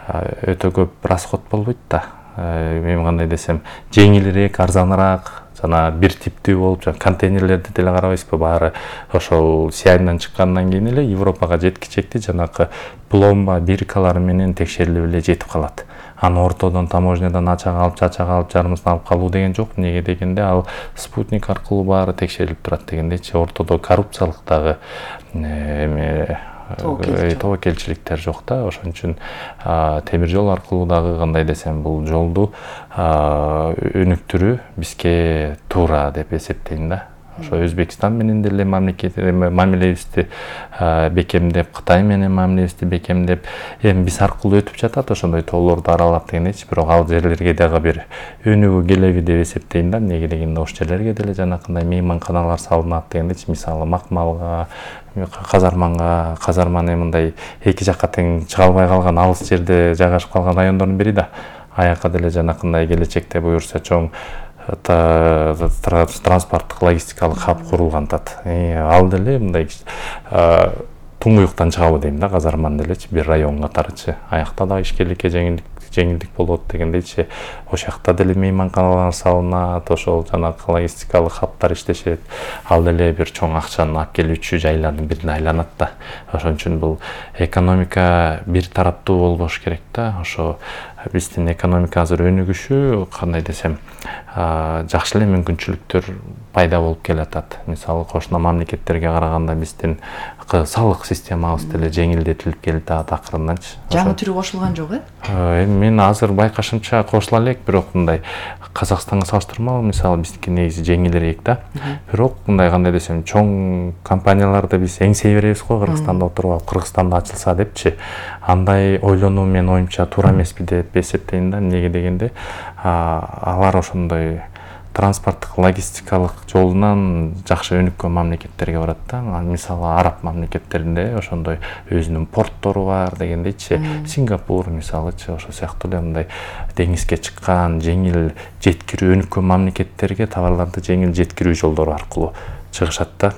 өтө көп расход болбойт да. Эми кандай десем жеңилирээк, арзаныраак, жана бир типтүү болуп, контейнерлерди деле карабайсызбы, баары ошол Сиайдан чыккандан кийин эле Европага жеткичекти жанакы пломба биркалары менен текшерилип эле жетип калат. Аны ортодон таможнядан ачага алып жарымысын алып калуу деген жок. Неге дегенде ал спутник аркылуу баары текшерилип турат дегендечи. Ортодо коррупциялык дагы эме тобокелчиликтер жок да. Ошон үчүн темир жол аркылуу дагы кандай десем бул жолду өнүктүрүү бизге туура деп эсептейм да. Ошо Өзбекстан менен деле мамилебизди бекемдеп, Кытай менен мамилебизди бекемдеп, эми биз аркылуу өтүп жатат ошондой тоолорду аралап дегендечи. Бирок ал жерлерге дагы бир өнүгүү келеби деп эсептейм да. Неге дегенде ошол жерлерге деле жанакындай мейманканалар салынат дегендечи. Мисалы Макмалга, Казарманы мындай эки жакка тең чыга албай калган алыс жерде жайгашып калган райондордун бири да. Аяка деле жанакындай келечекте буюрса чоң транспорттук логистикалык хаб курулган тат. Ал деле мындай туңгуюктан чыгабы дейм да, Казарман делечи бир район катарычы. Аякта да ишкерликке жеңилдик болот дегендейчи. Ошол жакта деле мейманканалар салынат, ошол жанакы логистикалык хабтар иштешет. Ал деле бир чоң акчаны алып келүүчү жайлардын бирине айланат да. Ошон үчүн бул экономика бир тараптуу болбош керек да. Ошо биздин экономика азыр өнүгүшү кандай десем жакшы эле мүмкүнчүлүктөр пайда болуп келатат. Мисалы кошуна мамлекеттерге караганда биздин салык системабыз деле жеңилдетилип келатат акырынданчы. Жаңы түрү кошулган жок Эми мен азыр байкашымча кошула элек, бирок мындай Казакстанга салыштырмалуу мисалы биздики негизи жеңилирээк да. Бирок мындай кандай десем чоң компанияларды биз эңсей беребиз го, Кыргызстанда отуруп алып, Кыргызстанда ачылса депчи. Андай ойлонуу менин оюмча туура эмеспи деп эсептейм да. Неге дегенде алар ошондой транспорттук логистикалык жолунан жакшы өнүккөн мамлекеттерге барат да. Мисалы араб мамлекеттеринде ошондой өзүнүн порттору бар дегендейчи. Сингапур мисалычы ошол сыяктуу эле мындай деңизге чыккан, жеңил жеткирүү өнүккөн мамлекеттерге товарларды жеңил жеткирүү жолдору аркылуу чыгышат да.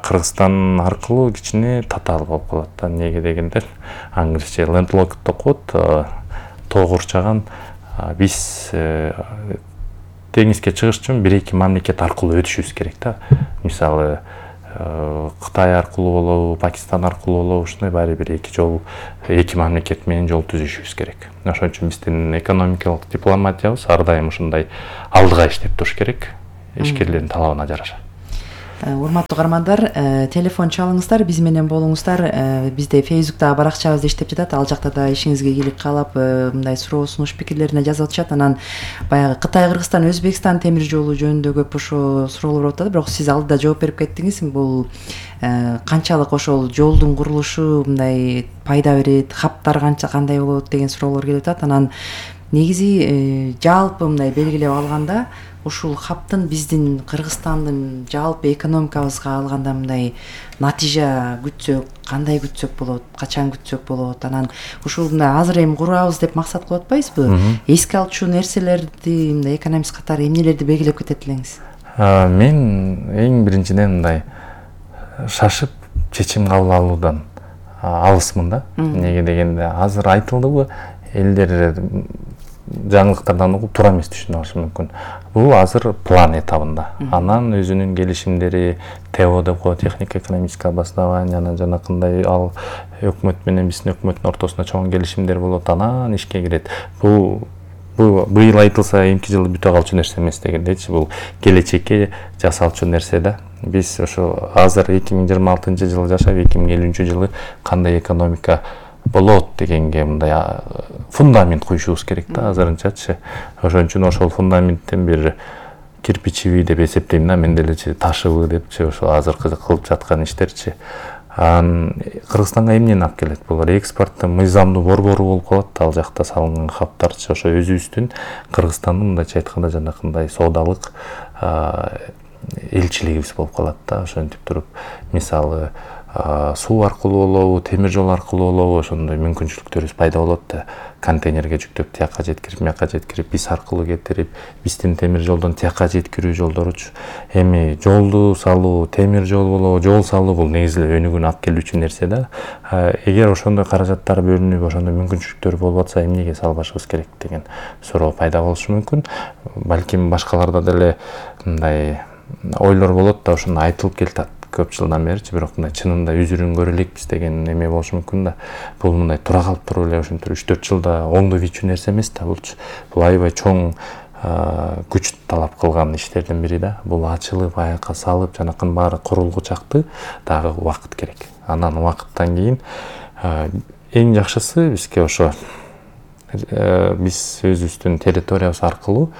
Кыргызстан аркылуу кичине татаал болуп калат да. Неге дегенде англисче landlocked деп коет, тоо курчаган. Биз деңизге чыгыш үчүн 1-2 мамлекет аркылуу өтүшүбүз керек да. Мисалы Кытай аркылуу болобу, Пакистан аркылуу болобу, ушундай баары бир 2 мамлекет менен жол түзүшүбүз керек. Ошон үчүн биздин экономикалык дипломатиябыз ар дайым ушундай алдыга иштеп туруш керек, ишкерлердин талабына жараша. Урматтуу каармандар, телефон чалыңыздар, биз менен болуңуздар. Бизде Facebook'та баракчабыз иштеп жатат. Ал жакта да ишиңизге ийгилик каалап, мындай суроо сунуш пикирлерине жазып атышат. Анан баягы Кытай, Кыргызстан, Өзбекстан темир жолу жөнүндө көп ошо суроолор болуп атат. Бирок сиз алдыда жооп берип кеттиңиз. Бул канчалык ошол жолдун курулушу мындай пайда берет, хаптар кандай болот деген суроолор келип атат. Анан негизи жалпы мындай белгилеп алганда ушул хаптын биздин Кыргызстандын жалпы экономикабызга алганда мындай натыйжа күтсөк, кандай күтсөк болот, качан күтсөк болот? Анан ушул мындай азыр эми курабыз деп максат кылып атпайбызбы? Эске алчу нерселерди, мындай экономист катары эмнелерди белгилеп кетет элеңиз? Мен эң биринчиден мындай шашып чечим кабыл алуудан алысмын да. Неге дегенде азыр айтылдыбы, элдер жаңылыктардан угуп туура эмес түшүнүп алышы мүмкүн. Бул азыр план этабында. Анан өзүнүн келишимдери ТЭО деп коет, технико-экономическое обоснование, анан жанакындай ал өкмөт менен биздин өкмөттүн ортосунда чоң келишимдер болот, анан ишке кирет. Бул быйыл айтылса эмки жылы бүтө калчу нерсе эмес дегендейчи. Бул келечекке жасалчу нерсе да. Биз ошо азыр 2026-жылы жашап, 2050-жылы кандай экономика болот дегенге мындай фундамент куюшубуз керек да азырынчачы. Ошон үчүн ошол фундаменттен бир кирпичиби деп эсептейм да, мен делечи ташыбы депчи, ошо азыркы кылып жаткан иштерчи. Кыргызстанга эмнени алып келет? Бул экспорттун мыйзамдуу борбору болуп калат, ал жакта салынган хаптарчы. Ошо өзүбүздүн Кыргызстандын мындайча айтканда жанакындай соодалык элчилигибиз болуп калат да. Ошентип туруп, мисалы суу аркылуу болобу, темир жол аркылуу болобу, ошондой мүмкүнчүлүктөрүбүз пайда болот да. Контейнерге жүктөп тияка жеткирип, мияка жеткирип, биз аркылуу кетирип, биздин темир жолдон тияка жеткирүү жолдоручу. Эми жолду салуу, темир жол болобу, жол салуу бул негизи өнүгүүнү алып келүүчү нерсе да. Эгер ошондой каражаттар бөлүнүп, ошондой мүмкүнчүлүктөр болуп атса, эмнеге салбашыбыз керек деген суроо пайда болушу мүмкүн. Балким башкаларда деле мындай ойлор болот да, ошону айтылып келатат көп жылдан беричи, бирок мындай чынында үзүрүн көрө элекпиз деген эме болушу мүмкүн да. Бул мындай тура калып туруп эле ошентип 3-4 жылда оңдоп ийчү нерсе эмес да булчу. Бул аябай чоң күч талап кылган иштердин бири да. Бул ачылып, аякка салып, жанакын баары курулгучакты дагы убакыт керек. Анан убакыттан кийин эң жакшысы бизге ошо биз өзүбүздүн территориябыз аркылуу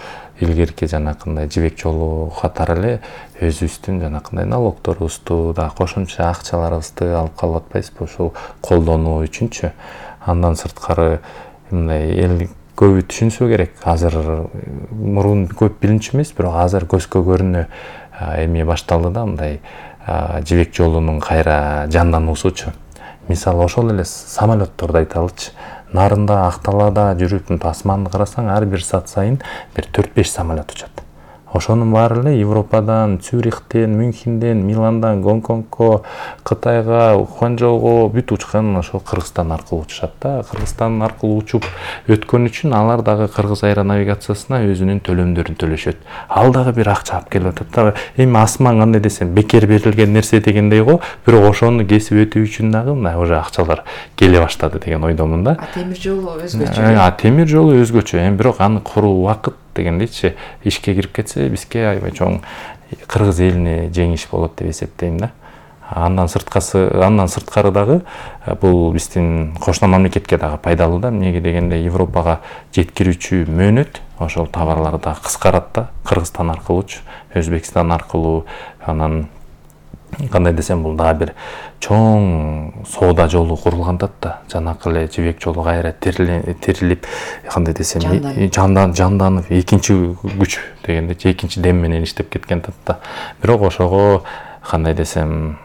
илгерки жанакындай жибек жолу катары эле өзүбүздүн жанакындай налогторубузду да кошумча акчаларыбызды алып калып атпайбызбы ошол колдонуу үчүнчү. Андан сырткары мындай эл көбү түшүнсө керек. Азыр мурун көп билинчү эмес, бирок азыр көзгө көрүнө эме башталды да, мындай жибек жолунун кайра жандануусучу. Мисалы ошол эле самолетторду айталычы. Нарында, Акталада жүрүп, асманды карасаң, ар бир саат сайын бир 4-5 самолет учат. Ошонун баары эле Европадан, Цюрихтен, Мюнхенден, Миландан, Гонконгко, Кытайга, Ханчжоуго бүт учкан ошо Кыргызстан аркылуу учушат да. Кыргызстан аркылуу учуп өткөн үчүн алар дагы Кыргыз аэронавигациясына өзүнүн төлөмдөрүн төлөшөт. Ал дагы бир акча алып келип атат да. Эми асман кандай десем, бекер берилген нерсе дегендей го, бирок ошону кесип өтүү үчүн дагы мына уже акчалар келе баштады деген ойдомун да. Темир жолу өзгөчө. Темир жолу өзгөчө. Эми бирок аны куруу убакыт дегендейчи, ишке кирип кетсе бизге аябай чоң кыргыз элине жеңиш болот деп эсептейм да. Андан сырткары дагы бул биздин кошуна мамлекетке дагы пайдалуу да. Эмнеге дегенде Европага жеткирүүчү мөөнөт ошол товарлар дагы кыскарат да. Кыргызстан аркылуучу, Өзбекстан аркылуу, анан кандай десем бул дагы бир чоң соода жолу курулган да, жанакы эле жибек жолу кайра тирилип, кандай десем жанданып экинчи күч дегенде экинчи дем менен иштеп кеткен да. Бирок ошого кандай десем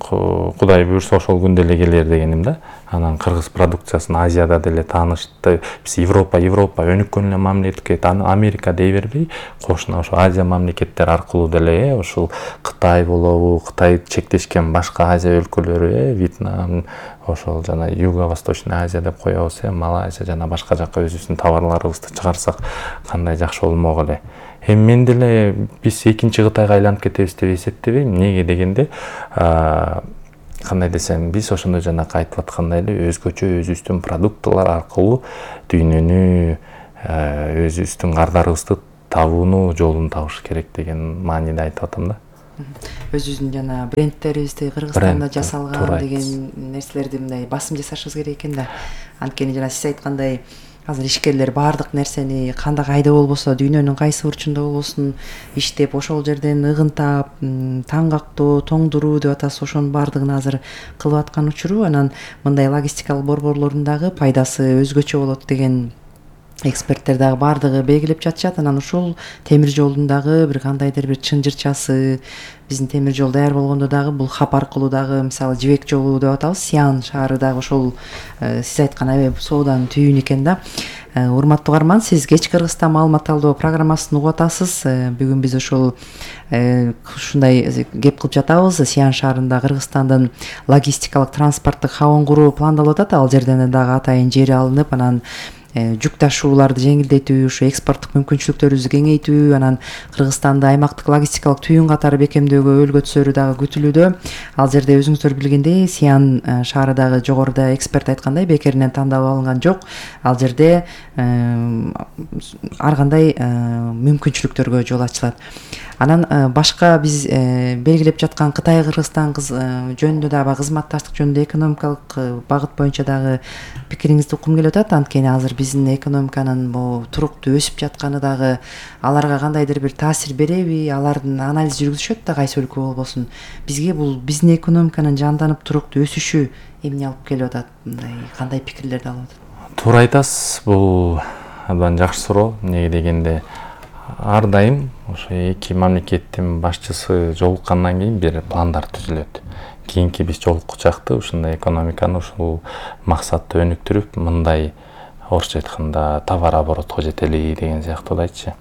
Кудай буюрса ошол күндө эле келер дегеним да. Анан кыргыз продукциясын Азияда деле таанышты. Биз Европа өнүккөн эле мамлекет, Америка дей бербей, кошуна ошо Азия мамлекеттери аркылуу деле ушул Кытай болобу, Кытай чектешкен башка Азия өлкөлөрү, Вьетнам, ошол жана Юго-Восточный Азия деп коебуз, Малайзия жана башка жакка өзүбүздүн товарларыбызды чыгарсак кандай жакшы болмок эле. Мен деле биз экинчи Кытайга айланып кетебиз деп эсептебейм. Эмнеге дегенде, кандай десем, биз ошондой жанакы айтып аткандай эле өзгөчө өзүбүздүн продуктылар аркылуу дүйнөнү, өзүбүздүн кардарыбызды табууну жолун табыш керек деген мааниде айтып атам да. Өзүбүздүн жана брендтерибизди Кыргызстанда жасалган деген нерселерди мындай басым жасашыбыз керек экен да. Анткени жана сиз айткандай азыр ишкерлер баардык нерсени кандай кайда болбосо, дүйнөнүн кайсы бурчунда болбосун иштеп, ошол жерден ыгынтап, таңгактоо, тоңдуруу деп атасыз, ошонун баардыгын азыр кылып аткан учуру, анан мындай логистикалык борборлордун дагы пайдасы өзгөчө болот деген эксперттер дагы баардыгы белгилеп жатышат. Анан ушул темир жолдун дагы бир кандайдыр бир чынжырчасы, биздин темир жол даяр болгондо дагы бул хап аркылуу дагы, мисалы жибек жолу деп атабыз, Сиан шаары дагы ошол сиз айткан аябай сооданын түйүнү экен да. Урматтуу угарман, сиз Кеч Кыргызстан маалымат талдоо программасын угуп атасыз. Бүгүн биз ушул ушундай кеп кылып жатабыз. Сиан шаарында Кыргызстандын логистикалык транспорттук хабын куруу пландалып атат. Ал жерден дагы атайын жери алынып, анан жүк ташууларды жеңилдетүү, ушу экспорттук мүмкүнчүлүктөрүбүздү кеңейтүү, анан Кыргызстанды аймактык логистикалык түйүн катары бекемдөөгө өлгө түсөрү дагы күтүлүүдө. Ал жерде өзүңүздөр билгендей, Сиан шаары дагы жогоруда эксперт айткандай бекеринен тандалып алынган жок. Ал жерде ар кандай мүмкүнчүлүктөргө жол ачылат. Анан башка биз белгилеп жаткан Кытай Кыргызстан жөнүндө дагы кызматташтык жөнүндө экономикалык багыт боюнча дагы пикириңизди уккум келип атат. Анткени азыр биздин экономиканын туруктуу өсүп жатканы дагы аларга кандайдыр бир таасир береби? Алардын анализ жүргүзүшөт да, кайсы өлкө болбосун. Бизге бул биздин экономиканын жанданып туруктуу өсүшү эмне алып келип атат? Мындай кандай пикирлерди алып атат? Туура айтасыз, бул абдан жакшы суроо. Эмнеге дегенде, ар дайым ошо эки мамлекеттин башчысы жолуккандан кийин бир пландар түзүлөт. Кийинки биз жолуккучакты ушундай экономиканы ушул максатты өнүктүрүп, мындай орусча айтканда товар оборотко жетели деген сыяктуу айтчы.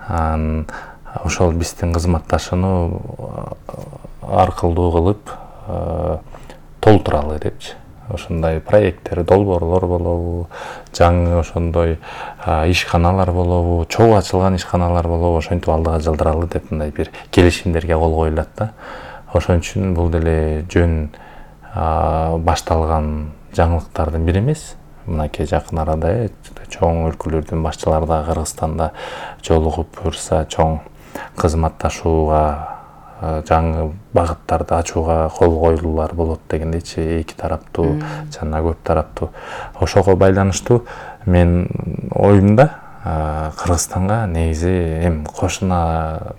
Ошол биздин кызматташууну аркылуу кылып толтуралы депчи. Ошондой проекттер, долбоорлор болобу, жаңы ошондой ишканалар болобу, чогуу ачылган ишканалар болобу, ошентип алдыга жылдыралы деп мындай бир келишимдерге кол коюлат да. Ошон үчүн бул деле жөн башталган жаңылыктардын бири эмес. Мынакей жакын арада чоң өлкөлөрдүн башчылары да Кыргызстанда жолугуп буюрса чоң кызматташууга, жаңы багыттарды ачууга кол коюлуулар болот дегендейчи, эки тараптуу жана көп тараптуу. Ошого байланыштуу мен оюмда Кыргызстанга негизи эми кошуна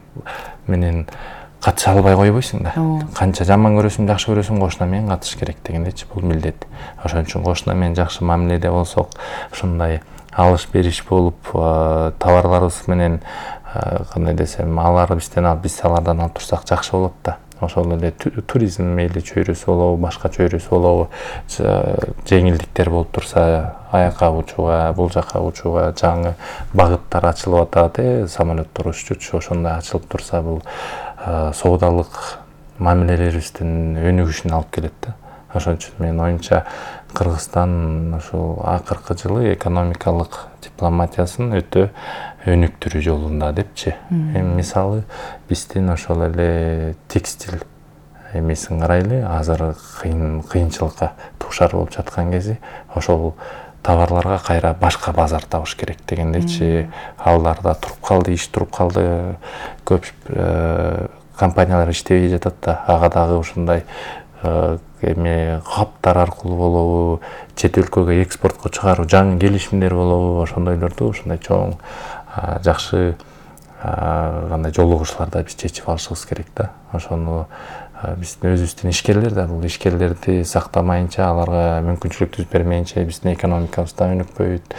менен катыша албай койбойсуң да. Канча жаман көрөсүң, жакшы көрөсүң, кошуна менен катыш керек дегендейчи, бул милдет. Ошон үчүн кошуна менен жакшы мамиледе болсок, ушундай алыш бериш болуп, товарларыбыз менен кандай десем, алар бизден алып, биз алардан алып турсак жакшы болот да. Ошол эле туризм мейли чөйрөсү болобу, башка чөйрөсү болобу, жеңилдиктер болуп турса, аякка учууга, бул жакка учууга жаңы багыттар ачылып атат, самолеттор уччучу, ошондой ачылып турса, бул соодалык мамилелерибиздин өнүгүшүнө алып келет да. Ошон үчүн менин оюмча Кыргызстан ушул акыркы жылы экономикалык дипломатиясын өтө өнүктүрүү жолунда депчи. Эми мисалы биздин ошол эле текстиль эмесин карайлы, азыр кыйынчылыкка дуушар болуп жаткан кези, ошол товарларга кайра башка базар табыш керек дегендейчи. Аларда туруп калды, иш туруп калды, көп компаниялар иштебей жатат да. Ага дагы ушундай эме каптар аркылуу болобу, чет өлкөгө экспортко чыгаруу жаңы келишимдер болобу, ошондойлорду ушундай чоң жакшы кандай жолугушууларда биз чечип алышыбыз керек да. Ошону биздин өзүбүздүн ишкерлер да бул ишкерлерди сактамайынча, аларга мүмкүнчүлүк түзүп бермейинче биздин экономикабыз да өнүкпөйт.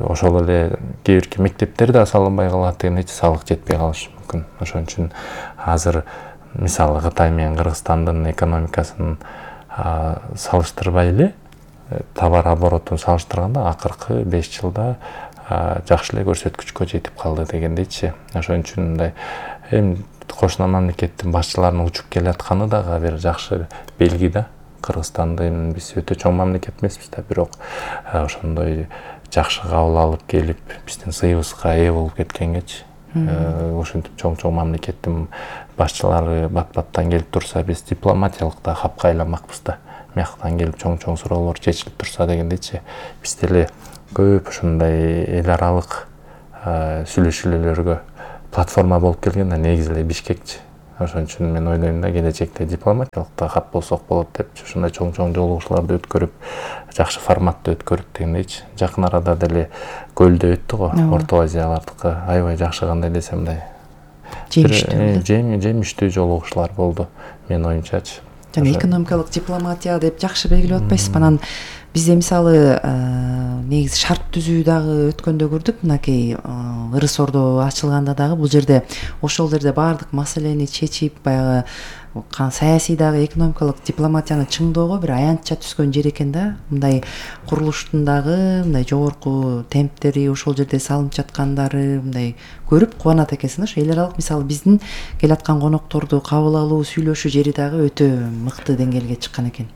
Ошол эле кээ бирки мектептер да салынбай калат дегендей, салык жетпей калышы мүмкүн. Ошон үчүн азыр мисалы Кытай менен Кыргызстандын экономикасын салыштырбай эле, товар оборотун салыштырганда акыркы 5 жылда жакшы эле көрсөткүчкө жетип калды дегендейчи. Ошон үчүн мындай эми кошуна мамлекеттин башчыларынын учуп келатканы дагы бир жакшы белги да. Кыргызстанды эми биз өтө чоң мамлекет эмеспиз да, бирок ошондой жакшы кабыл алып келип биздин сыйыбызга ээ болуп кеткенгечи. Ушинтип чоң мамлекеттин башчылары бат-баттан келип турса, биз дипломатиялык да хапка айланмакпыз да. Мияктан келип чоң суроолор чечилип турса дегендейчи. Биз деле көп ушундай эл аралык сүйлөшүүлөргө платформа болуп келген да, негизи эле Бишкекчи. Ошон үчүн мен ойлойм да, келечекте дипломатиялык да хап болсок болот деп, ушундай чоң жолугушууларды өткөрүп, жакшы форматта өткөрүп дегендейчи. Жакын арада деле көлдө өттү го, Орто Азиялардыкы аябай жакшы, кандай десем мындай жемиштүү жолугушуулар болду менин оюмчачы. Жана экономикалык дипломатия деп жакшы белгилеп атпайсызбы? Анан бизде мисалы негизи шарт түзүү дагы өткөндө көрдүк, мынакей Ырыс Ордо ачылганда дагы бул жерде ошол жерде баардык маселени чечип, баягы саясий дагы экономикалык дипломатияны чыңдоого бир аянтча түскөн жер экен да. Мындай курулуштун дагы мындай жогорку темптери, ошол жерде салынып жаткандары мындай көрүп кубанат экенсиң да. Ошо эл аралык мисалы биздин келаткан конокторду кабыл алуу, сүйлөшүү жери дагы өтө мыкты деңгээлге чыккан экен.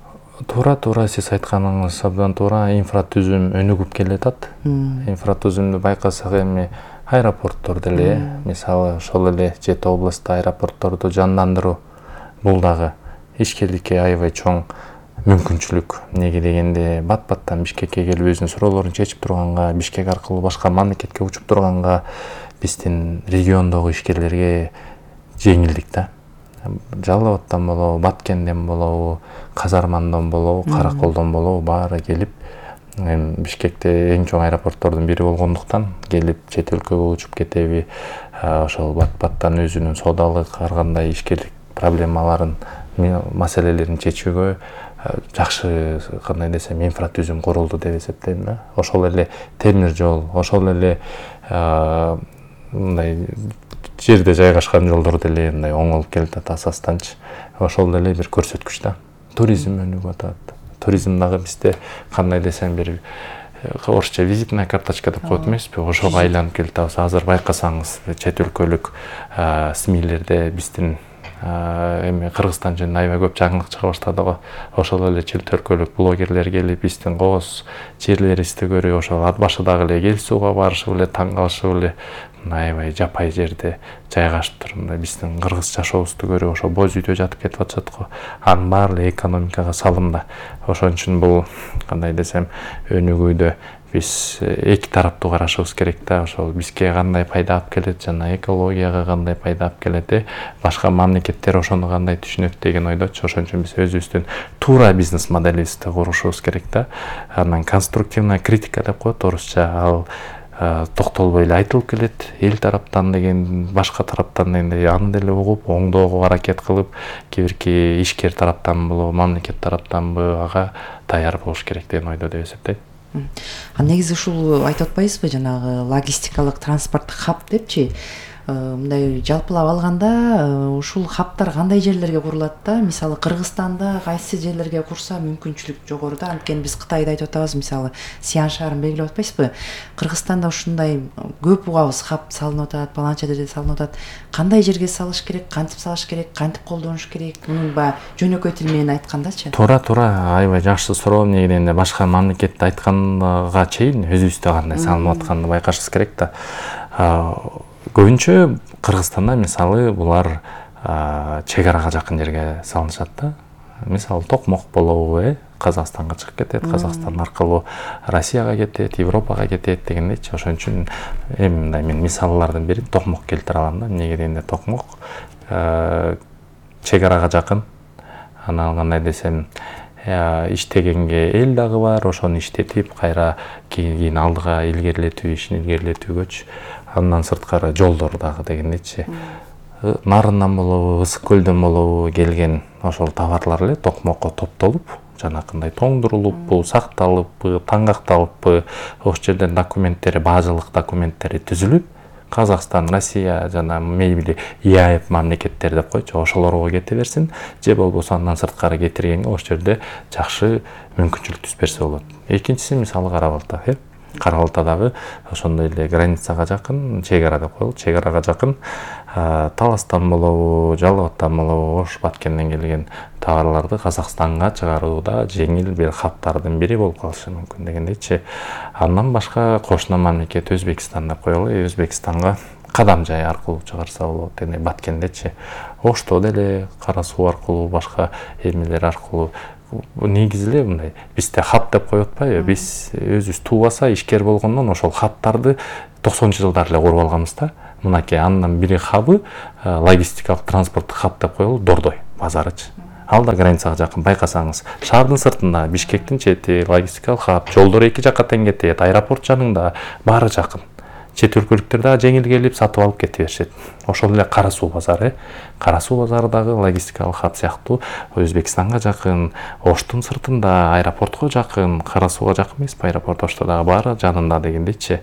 Туура сиз айтканыңыз абдан туура. Инфратүзүм өнүгүп келатат. Инфратүзүмдү байкасак эми аэропорттор деле, мисалы ошол эле Жети областта аэропортторду жандандыруу, бул дагы ишкерликке аябай чоң мүмкүнчүлүк. Неге дегенде бат-баттан Бишкекке келип өзүнүн суроолорун чечип турганга, Бишкек аркылуу башка мамлекетке учуп турганга биздин региондогу ишкерлерге жеңилдик да. Жалал Абадтан болобу, Баткенден болобу, Казармандон болобу, Караколдон болобу баары келип, Бишкекте эң чоң аэропорттордун бири болгондуктан келип чет өлкөгө учуп кетеби, ошол бат-баттан өзүнүн соодалык, ар кандай ишкерлик проблемаларын, маселелерин чечүүгө жакшы, кандай десем, инфратүзүм курулду деп эсептейм да. Ошол эле темир жол, ошол эле мындай жерде жайгашкан жолдор деле мындай оңолуп келатат асастанчы. Ошол деле бир көрсөткүч да. Туризм өнүгүп атат. Туризм дагы бизде, кандай десем, бир орусча визитная карточка деп коет эмеспи? Ошого айланып келатабыз. Азыр байкасаңыз, чет өлкөлүк СМИлерде биздин эми Кыргызстан жөнүндө аябай көп жаңылык чыга баштады го. Ошол эле чет өлкөлүк блогерлер келип биздин кооз жерлерибизди көрүп, ошол ат башыдагы эле Кел сууга барышып эле, таң калышып эле, аябай жапай жерде жайгашып туруп, биздин кыргыз жашообузду көрүп, ошо боз үйдө жатып кетип атышат го. Анын баары эле экономикага салым да. Ошон үчүн бул, кандай десем, өнүгүүдө биз эки тараптуу карашыбыз керек да. Ошол бизге кандай пайда алып келет, жана экологияга кандай пайда алып келет, башка мамлекеттер ошону кандай түшүнөт деген ойдочу. Ошон үчүн биз өзүбүздүн туура бизнес моделибизди курушубуз керек да. Анан конструктивная критика деп коет орусча, ал токтолбой эле айтылып келет. Эл тараптан деген, башка тараптан дегендей, аны деле угуп, оңдоого аракет кылып, кээ бирки ишкер тараптан болобу, мамлекет тараптанбы, ага даяр болуш керек деген ойдо деп эсептейм. Негизи ушул айтып атпайсызбы, жанагы логистикалык транспорттук хаб депчи? Мындай жалпылап алганда ушул хабтар кандай жерлерге курулат да? Мисалы Кыргызстанда кайсы жерлерге курса мүмкүнчүлүк жогору да? Анткени биз Кытайды айтып атабыз, мисалы Сиан шаарын белгилеп атпайсызбы? Кыргызстанда ушундай көп угабыз хаб салынып атат, баланча жерде салынып атат. Кандай жерге салыш керек, кантип салыш керек, кантип колдонуш керек? Мунун баягы жөнөкөй тил менен айткандачы. Туура, аябай жакшы суроо. Неге дегенде башка мамлекетте айтканга чейин өзүбүздө кандай салынып атканын байкашыбыз керек да. Көбүнчө Кыргызстанда мисалы булар чек арага жакын жерге салынышат да. Мисалы Токмок болобу, Казакстанга чыгып кетет, Казакстан аркылуу Россияга кетет, Европага кетет дегендейчи. Ошон үчүн эми мындай мен мисаллардын бирин Токмок келтире алам да. Неге дегенде Токмок чек арага жакын. Анан кандай десем, иштегенге эл дагы бар, ошону иштетип, кайра кийин алдыга илгерилетүү, ишин илгерилетүүгөчү. Андан сырткары жолдор дагы дегендейчи. нарындан болобу, Ысык көлдөн болобу келген ошол товарлар эле токмокко топтолуп, жанакындай тоңдурулуппу, сакталыппы, таңгакталыппы, ошол жерден документтери, базалык документтери түзүлүп, Казакстан, Россия жана мейли ИАЭП мамлекеттери деп койчу, ошолорго кете берсин, же болбосо андан сырткары кетиргенге ошол жерде жакшы мүмкүнчүлүк түзүп берсе болот. Экинчиси мисалы Кара Балта, Кара Балта дагы ошондой эле границага жакын, чек ара деп коелу, чек арага жакын Таластан болобу, Жалал Абадтан болобу, Ош Баткенден келген товарларды Казакстанга чыгарууда жеңил бир хабтардын бири болуп калышы мүмкүн дегендейчи. Андан башка кошуна мамлекет Өзбекстан деп коелу, Өзбекстанга кадам жай аркылуу чыгарса болот, эми Баткендечи. Ошто деле Кара суу аркылуу, башка эмелер аркылуу негизи эле мындай бизде хаб деп коюп атпайбы, биз өзүбүз туубаса ишкер болгондон ошол хабтарды 90-жылдар эле куруп алганбыз да. Мынакей андан бири хабы логистикалык транспорттук хаб деп коелу, Дордой базарычы. Ал да границага жакын, байкасаңыз, шаардын сыртында, Бишкектин чети, логистикалык хаб, жолдор эки жакка тең кетет, аэропорт жанында, баары жакын. Чет өлкөлүктөр дагы жеңил келип сатып алып кете беришет. Ошол эле Кара суу базары, Кара суу базары дагы логистикалык хаб сыяктуу Өзбекстанга жакын, Оштун сыртында, аэропортко жакын, Кара сууга жакын эмеспи аэропорт, Ошто дагы баары жанында дегендейчи.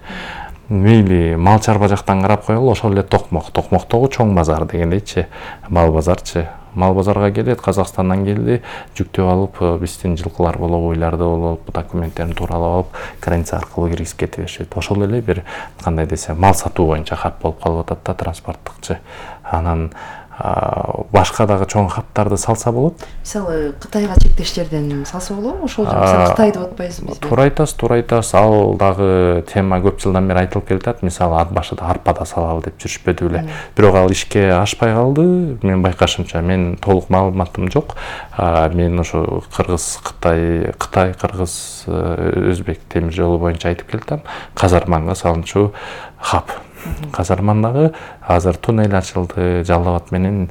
Мейли мал чарба жактан карап коелу, ошол эле Токмоктогу чоң базар дегендейчи, мал базарчы. Мал базарга келет, Казакстандан келди, жүктөп алып, биздин жылкылар болобу, уйларды болуп, документтерин тууралап алып, граница аркылуу киргизип кете беришет. Ошол эле бир кандай десем, мал сатуу боюнча хаб болуп калып атат да, транспорттукчу. Анан башка дагы чоң хабтарды салса болот. Мисалы Кытайга чектештерден салса болобу? Ошол мисалы Кытай деп атпайсызбы? Туура айтасыз, ал дагы тема көп жылдан бери айтылып келатат. Мисалы ат башыда арпада салалы деп жүрүшпөдү беле. Бирок ал ишке ашпай калды. Мен байкашымча, мен толук маалыматым жок. Мен ошо Кытай, Кыргыз, Өзбек темир жолу боюнча айтып келатам. Казарманга салынчу хаб. Казармандагы азыр туннель ачылды, Жалал Абад менен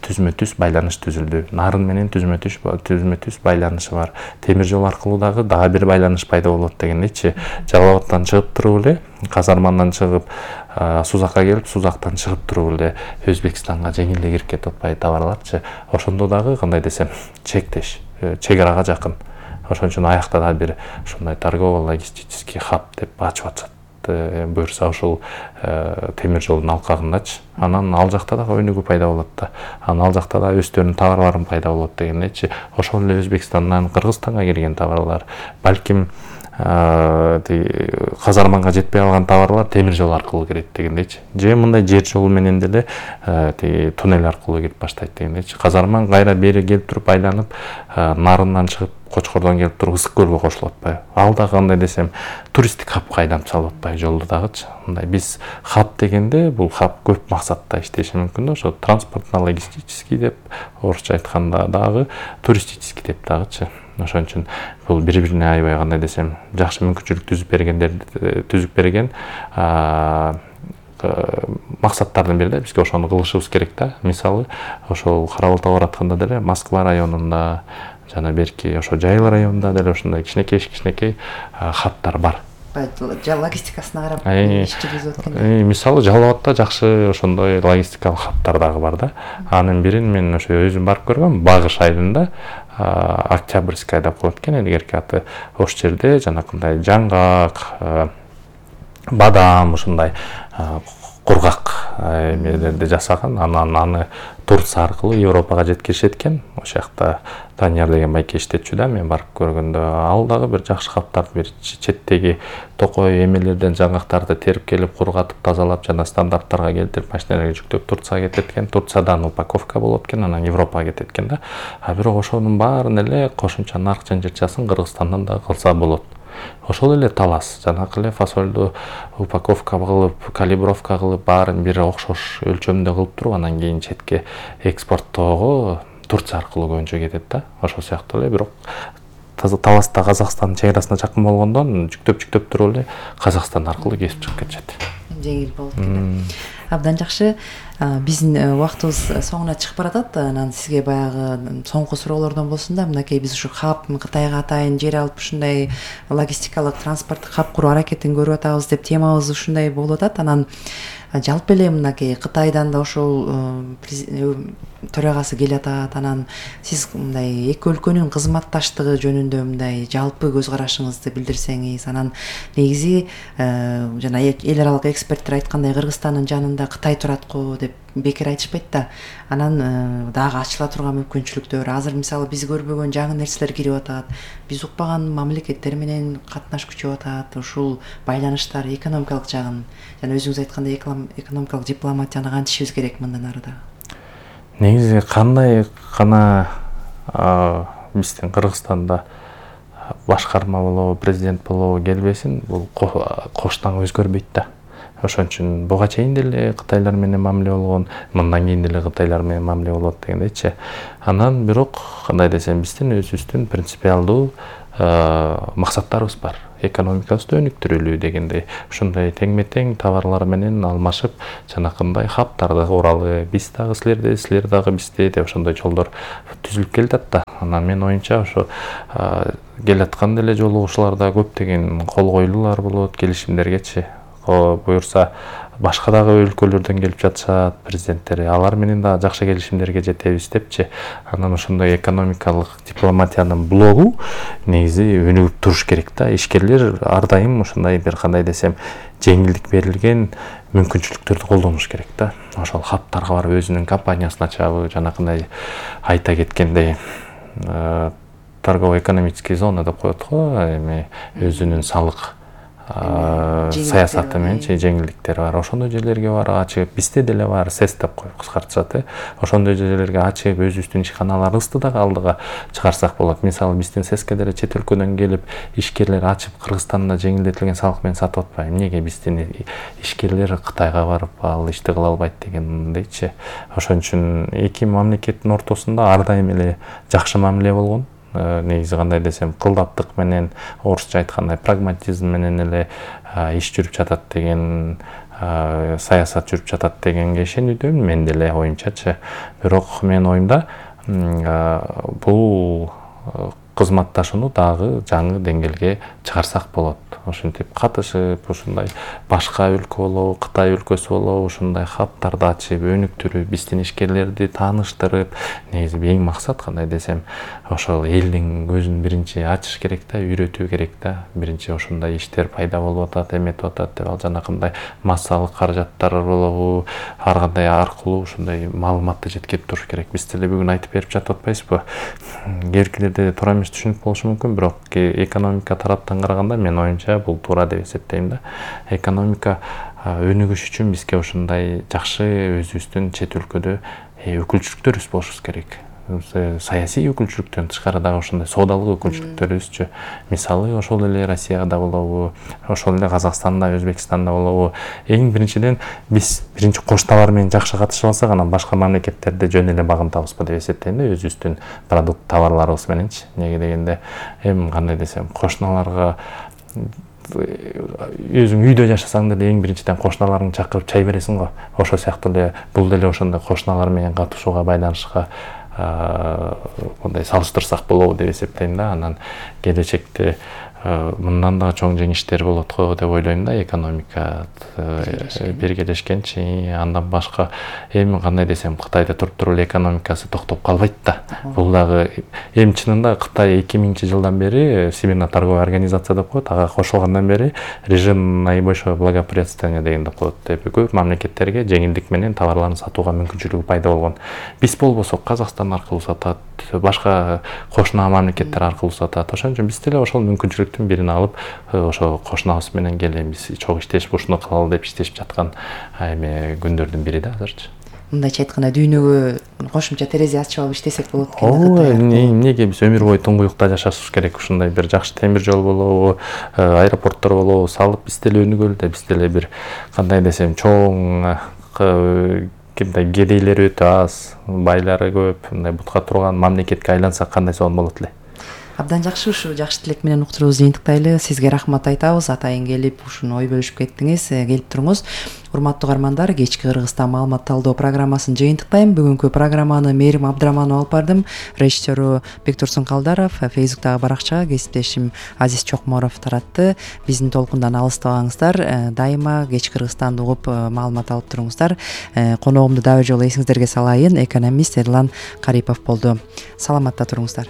түзмө-түз байланыш түзүлдү. Нарын менен түзмө-түз байланышы бар. Темир жол аркылуу дагы бир байланыш пайда болот дегендейчи. Жалал Абадтан чыгып туруп эле, Казармандан чыгып, Сузакка келип, Сузактан чыгып туруп эле Өзбекстанга жеңил эле кирип кетип атпайбы товарларчы. Ошондо дагы кандай десем, чектеш, чек арага жакын. Ошон үчүн аякта да бир ушундай торгово-логистический хаб деп ачып атышат. Буюрса ошол темир жолдун алкагындачы. Анан ал жакта дагы өнүгүү пайда болот да. Анан ал жакта да өздөрүнүн товарлары пайда болот дегендейчи. Ошол эле Өзбекстандан Кыргызстанга кирген товарлар, балким Казарманга жетпей калган товарлар темир жол аркылуу кирет дегендейчи. Же мындай жер жолу менен деле туннель аркылуу кирип баштайт дегендейчи. Казарман кайра бери келип туруп айланып, Нарындан чыгып, Кочкордон келип туруп Ысык көлгө кошулуп атпайбы? Ал да кандай десем, туристтик хабка айланып салып атпайбы жолду дагычы. Мындай биз хаб дегенде, бул хаб көп максатта иштеши мүмкүн да, ошо транспортно-логистический деп, орусча айтканда дагы туристический деп дагычы. Ошон үчүн бул бири-бирине аябай кандай десем, жакшы мүмкүнчүлүк түзүп берген максаттардын бири да, бизге ошону кылышыбыз керек да. Мисалы, ошол Кара Балтага баратканда деле Москва районунда жана берки ошо Жайыл районунда деле ушундай кичинекей хабтар бар. Логистикасына карап иш жүргүзүп аткан. Мисалы Жалал Абадта жакшы ошондой логистикалык хабтар дагы бар да. Анын бирин мен ошо өзүм барып көргөм, Багыш айылында, Октябрьская деп коет экен, илгерки аты. Ошол жерде жанакындай жаңгак, бадам, ушундай кургак эмелерди жасаган. Анан аны Турция аркылуу Европага жеткиришет экен. Ошол жакта Данияр деген байке иштетчү да, мен барып көргөндө. Ал дагы бир жакшы хабтарды бир четтеги токой эмелерден жаңгактарды терип келип, кургатып, тазалап жана стандарттарга келтирип, машиналарга жүктөп Турцияга кетет экен. Турциядан упаковка болот экен, анан Европага кетет экен да. Бирок ошонун баарын эле кошумча нарк жанжырчасын Кыргызстандан дагы кылса болот. Ошол эле талас, жанакы эле фасолду упаковка кылып, калибровка кылып, баарын бир окшош өлчөмдө кылып туруп, анан кийин четке экспорттоого Турция аркылуу көбүнчө кетет да. Ошол сыяктуу эле, бирок таласта Казакстан чек арасына жакын болгондон жүктөп туруп эле Казакстан аркылуу кесип чыгып кетишет. Жеңил болуп кетет. Абдан жакшы. Биздин убактыбыз соңуна чыгып баратат. Анан сизге баягы соңку суроолордон болсун да, мынакей биз ушу хаб Кытайга атайын жер алып ушундай логистикалык транспорттук хаб куруу аракетин көрүп атабыз деп темабыз ушундай болуп атат. Анан жалпы эле мынакей Кытайдан да ошол төрагасы келатат. Анан сиз мындай эки өлкөнүн кызматташтыгы жөнүндө мындай жалпы көз карашыңызды билдирсеңиз, анан негизи жана эл аралык эксперттер айткандай Кыргызстандын жанында Кытай турат го деп бекер айтышпайт да. Анан дагы ачыла турган мүмкүнчүлүктөр, азыр мисалы биз көрбөгөн жаңы нерселер кирип атат, биз укпаган мамлекеттер менен катнаш күчөп атат. Ушул байланыштар экономикалык жагын жана өзүңүз айткандай экономикалык дипломатияны кантишибиз керек мындан ары да? Негизи кандай гана биздин Кыргызстанда башкарма болобу, президент болобу келбесин, бул коштан өзгөрбөйт да. Ошон үчүн буга чейин деле Кытайлар менен мамиле болгон, мындан кийин деле Кытайлар менен мамиле болот дегендейчи. Анан бирок кандай десем, биздин өзүбүздүн принципиалдуу максаттарыбыз бар. Экономикабызды өнүктүрөлүү дегендей, ушундай теңме-тең товарлар менен алмашып, жанакындай хаптарды уралы, биз дагы силерде, силер дагы бизде деп ошондой жолдор түзүлүп келатат да. Анан менин оюмча ошо келаткан деле жолугушууларда көптөгөн кол коюлуулар болот, келишимдергечи. Буюрса башка дагы өлкөлөрдөн келип жатышат президенттери, алар менен да жакшы келишимдерге жетебиз депчи. Анан ошондой экономикалык дипломатиянын блогу негизи өнүгүп туруш керек да. Ишкерлер ар дайым ушундай бир кандай десем жеңилдик берилген мүмкүнчүлүктөрдү колдонуш керек да. Ошол хаптарга барып өзүнүн компаниясын ачабы, жанакындай айта кеткендей торгово-экономический зона деп коет го, эми өзүнүн салык саясаты менен жеңилдиктер бар. Ошондой жерлерге бар ачып, бизде деле бар, СЭС деп коюп кыскартышат. Ошондой жерлерге ачып, өзүбүздүн ишканаларыбызды дагы алдыга чыгарсак болот. Мисалы биздин СЭСке деле чет өлкөдөн келип ишкерлер ачып, Кыргызстанда жеңилдетилген салык менен сатып атпайбы? Эмнеге биздин ишкерлер Кытайга барып ал ишти кыла албайт дегендейчи. Ошон үчүн эки мамлекеттин ортосунда ар дайым эле жакшы мамиле болгон. Негизи кандай десем, кылдаптык менен, орусча айткандай прагматизм менен эле иш жүрүп жатат деген, саясат жүрүп жатат дегенге ишенүүдөмүн мен деле оюмчачы. Бирок менин оюмда бул кызматташууну дагы жаңы деңгээлге чыгарсак болот. Ошентип катышып, ушундай башка өлкө болобу, Кытай өлкөсү болобу, ушундай хаптарды ачып, өнүктүрүп, биздин ишкерлерди тааныштырып, негизи эң максат кандай десем, ошол элдин көзүн биринчи ачыш керек да, үйрөтүү керек да. Биринчи ошондой иштер пайда болуп атат, эметип атат деп, ал жанакындай массалык каражаттар болобу, ар кандай аркылуу ушундай маалыматты жеткирип туруш керек. Биз деле бүгүн айтып берип жатып атпайбызбы? Кээбиркилерде туура эмес түшүнүк болушу мүмкүн, бирок экономика тараптан караганда мен оюмча бул туура деп эсептейм да. Экономика өнүгүш үчүн бизге ушундай жакшы өзүбүздүн чет өлкөдө өкүлчүлүктөрүбүз болушу керек. Саясий өкүлчүлүктөн тышкары дагы ошондой соодалык өкүлчүлүктөрүбүзчү. Мисалы ошол эле Россияда болобу, ошол эле Казакстанда, Өзбекстанда болобу. Эң биринчиден биз биринчи кошуналар менен жакшы катышып алсак, анан башка мамлекеттерде жөн эле багынтабызбы деп эсептейм да, өзүбүздүн продукт товарларыбыз мененчи. Неге дегенде, эми кандай десем, кошуналарга өзүң үйдө жашасаң деле эң биринчиден кошуналарыңды чакырып чай бересиң го. Ошол сыяктуу эле бул деле ошондой кошуналар менен катышууга байланышка мындай салыштырсак болобу деп эсептейм да. Анан келечекте мындан да чоң жеңиштер болот го деп ойлойм да. Экономика биргелешкенчи, андан башка эми кандай десем, Кытайда туруп эле экономикасы токтоп калбайт да. Бул дагы эми чынында Кытай 2000-жылдан бери Всемирная торговая организация деп коет, ага кошулгандан бери режим наибольшего благоприятствования деген деп коет. Көп мамлекеттерге жеңилдик менен товарларын сатууга мүмкүнчүлүгү пайда болгон. Биз болбосок Казакстан аркылуу сатат, башка кошуна мамлекеттер аркылуу сатат. Ошон үчүн биз деле ошол мүмкүнчүлүктүн бирин алып, ошо кошунабыз менен келебиз, чогуу иштешип ушуну кылалы деп иштешип жаткан эми күндөрдүн бири да азырчы. Мындайча айтканда дүйнөгө кошумча терезе ачып алып иштесек болот экен. Ооба, эмнеге биз өмүр бою туңгуюкта жашашыбыз керек? Ушундай бир жакшы темир жол болобу, аэропорттор болобу салып биз деле өнүгөлү да, биз деле бир кандай десем, чоң кимдей кедейлери өтө аз, байлары көп, мындай бутка турган мамлекетке айлансак кандай сонун болот эле. Абдан жакшы, ушу жакшы тилек менен уктуруубузду жыйынтыктайлы. Сизге рахмат айтабыз, атайын келип ушуну ой бөлүшүп кеттиңиз. Келип туруңуз. Урматтуу угармандар, кечки Кыргызстан маалымат талдоо программасын жыйынтыктайм. Бүгүнкү программаны Мээрим Абдыраманова алып бардым. Режиссеру Бектурсун Калдаров, Фейсбуктагы баракчага кесиптешим Азиз Чокморов таратты. Биздин толкундан алыстабаңыздар. Дайыма кечки Кыргызстанды угуп маалымат алып туруңуздар. Коногумду дагы жолу эсиңиздерге салайын, экономист Эрлан Карипов болду. Саламатта туруңуздар.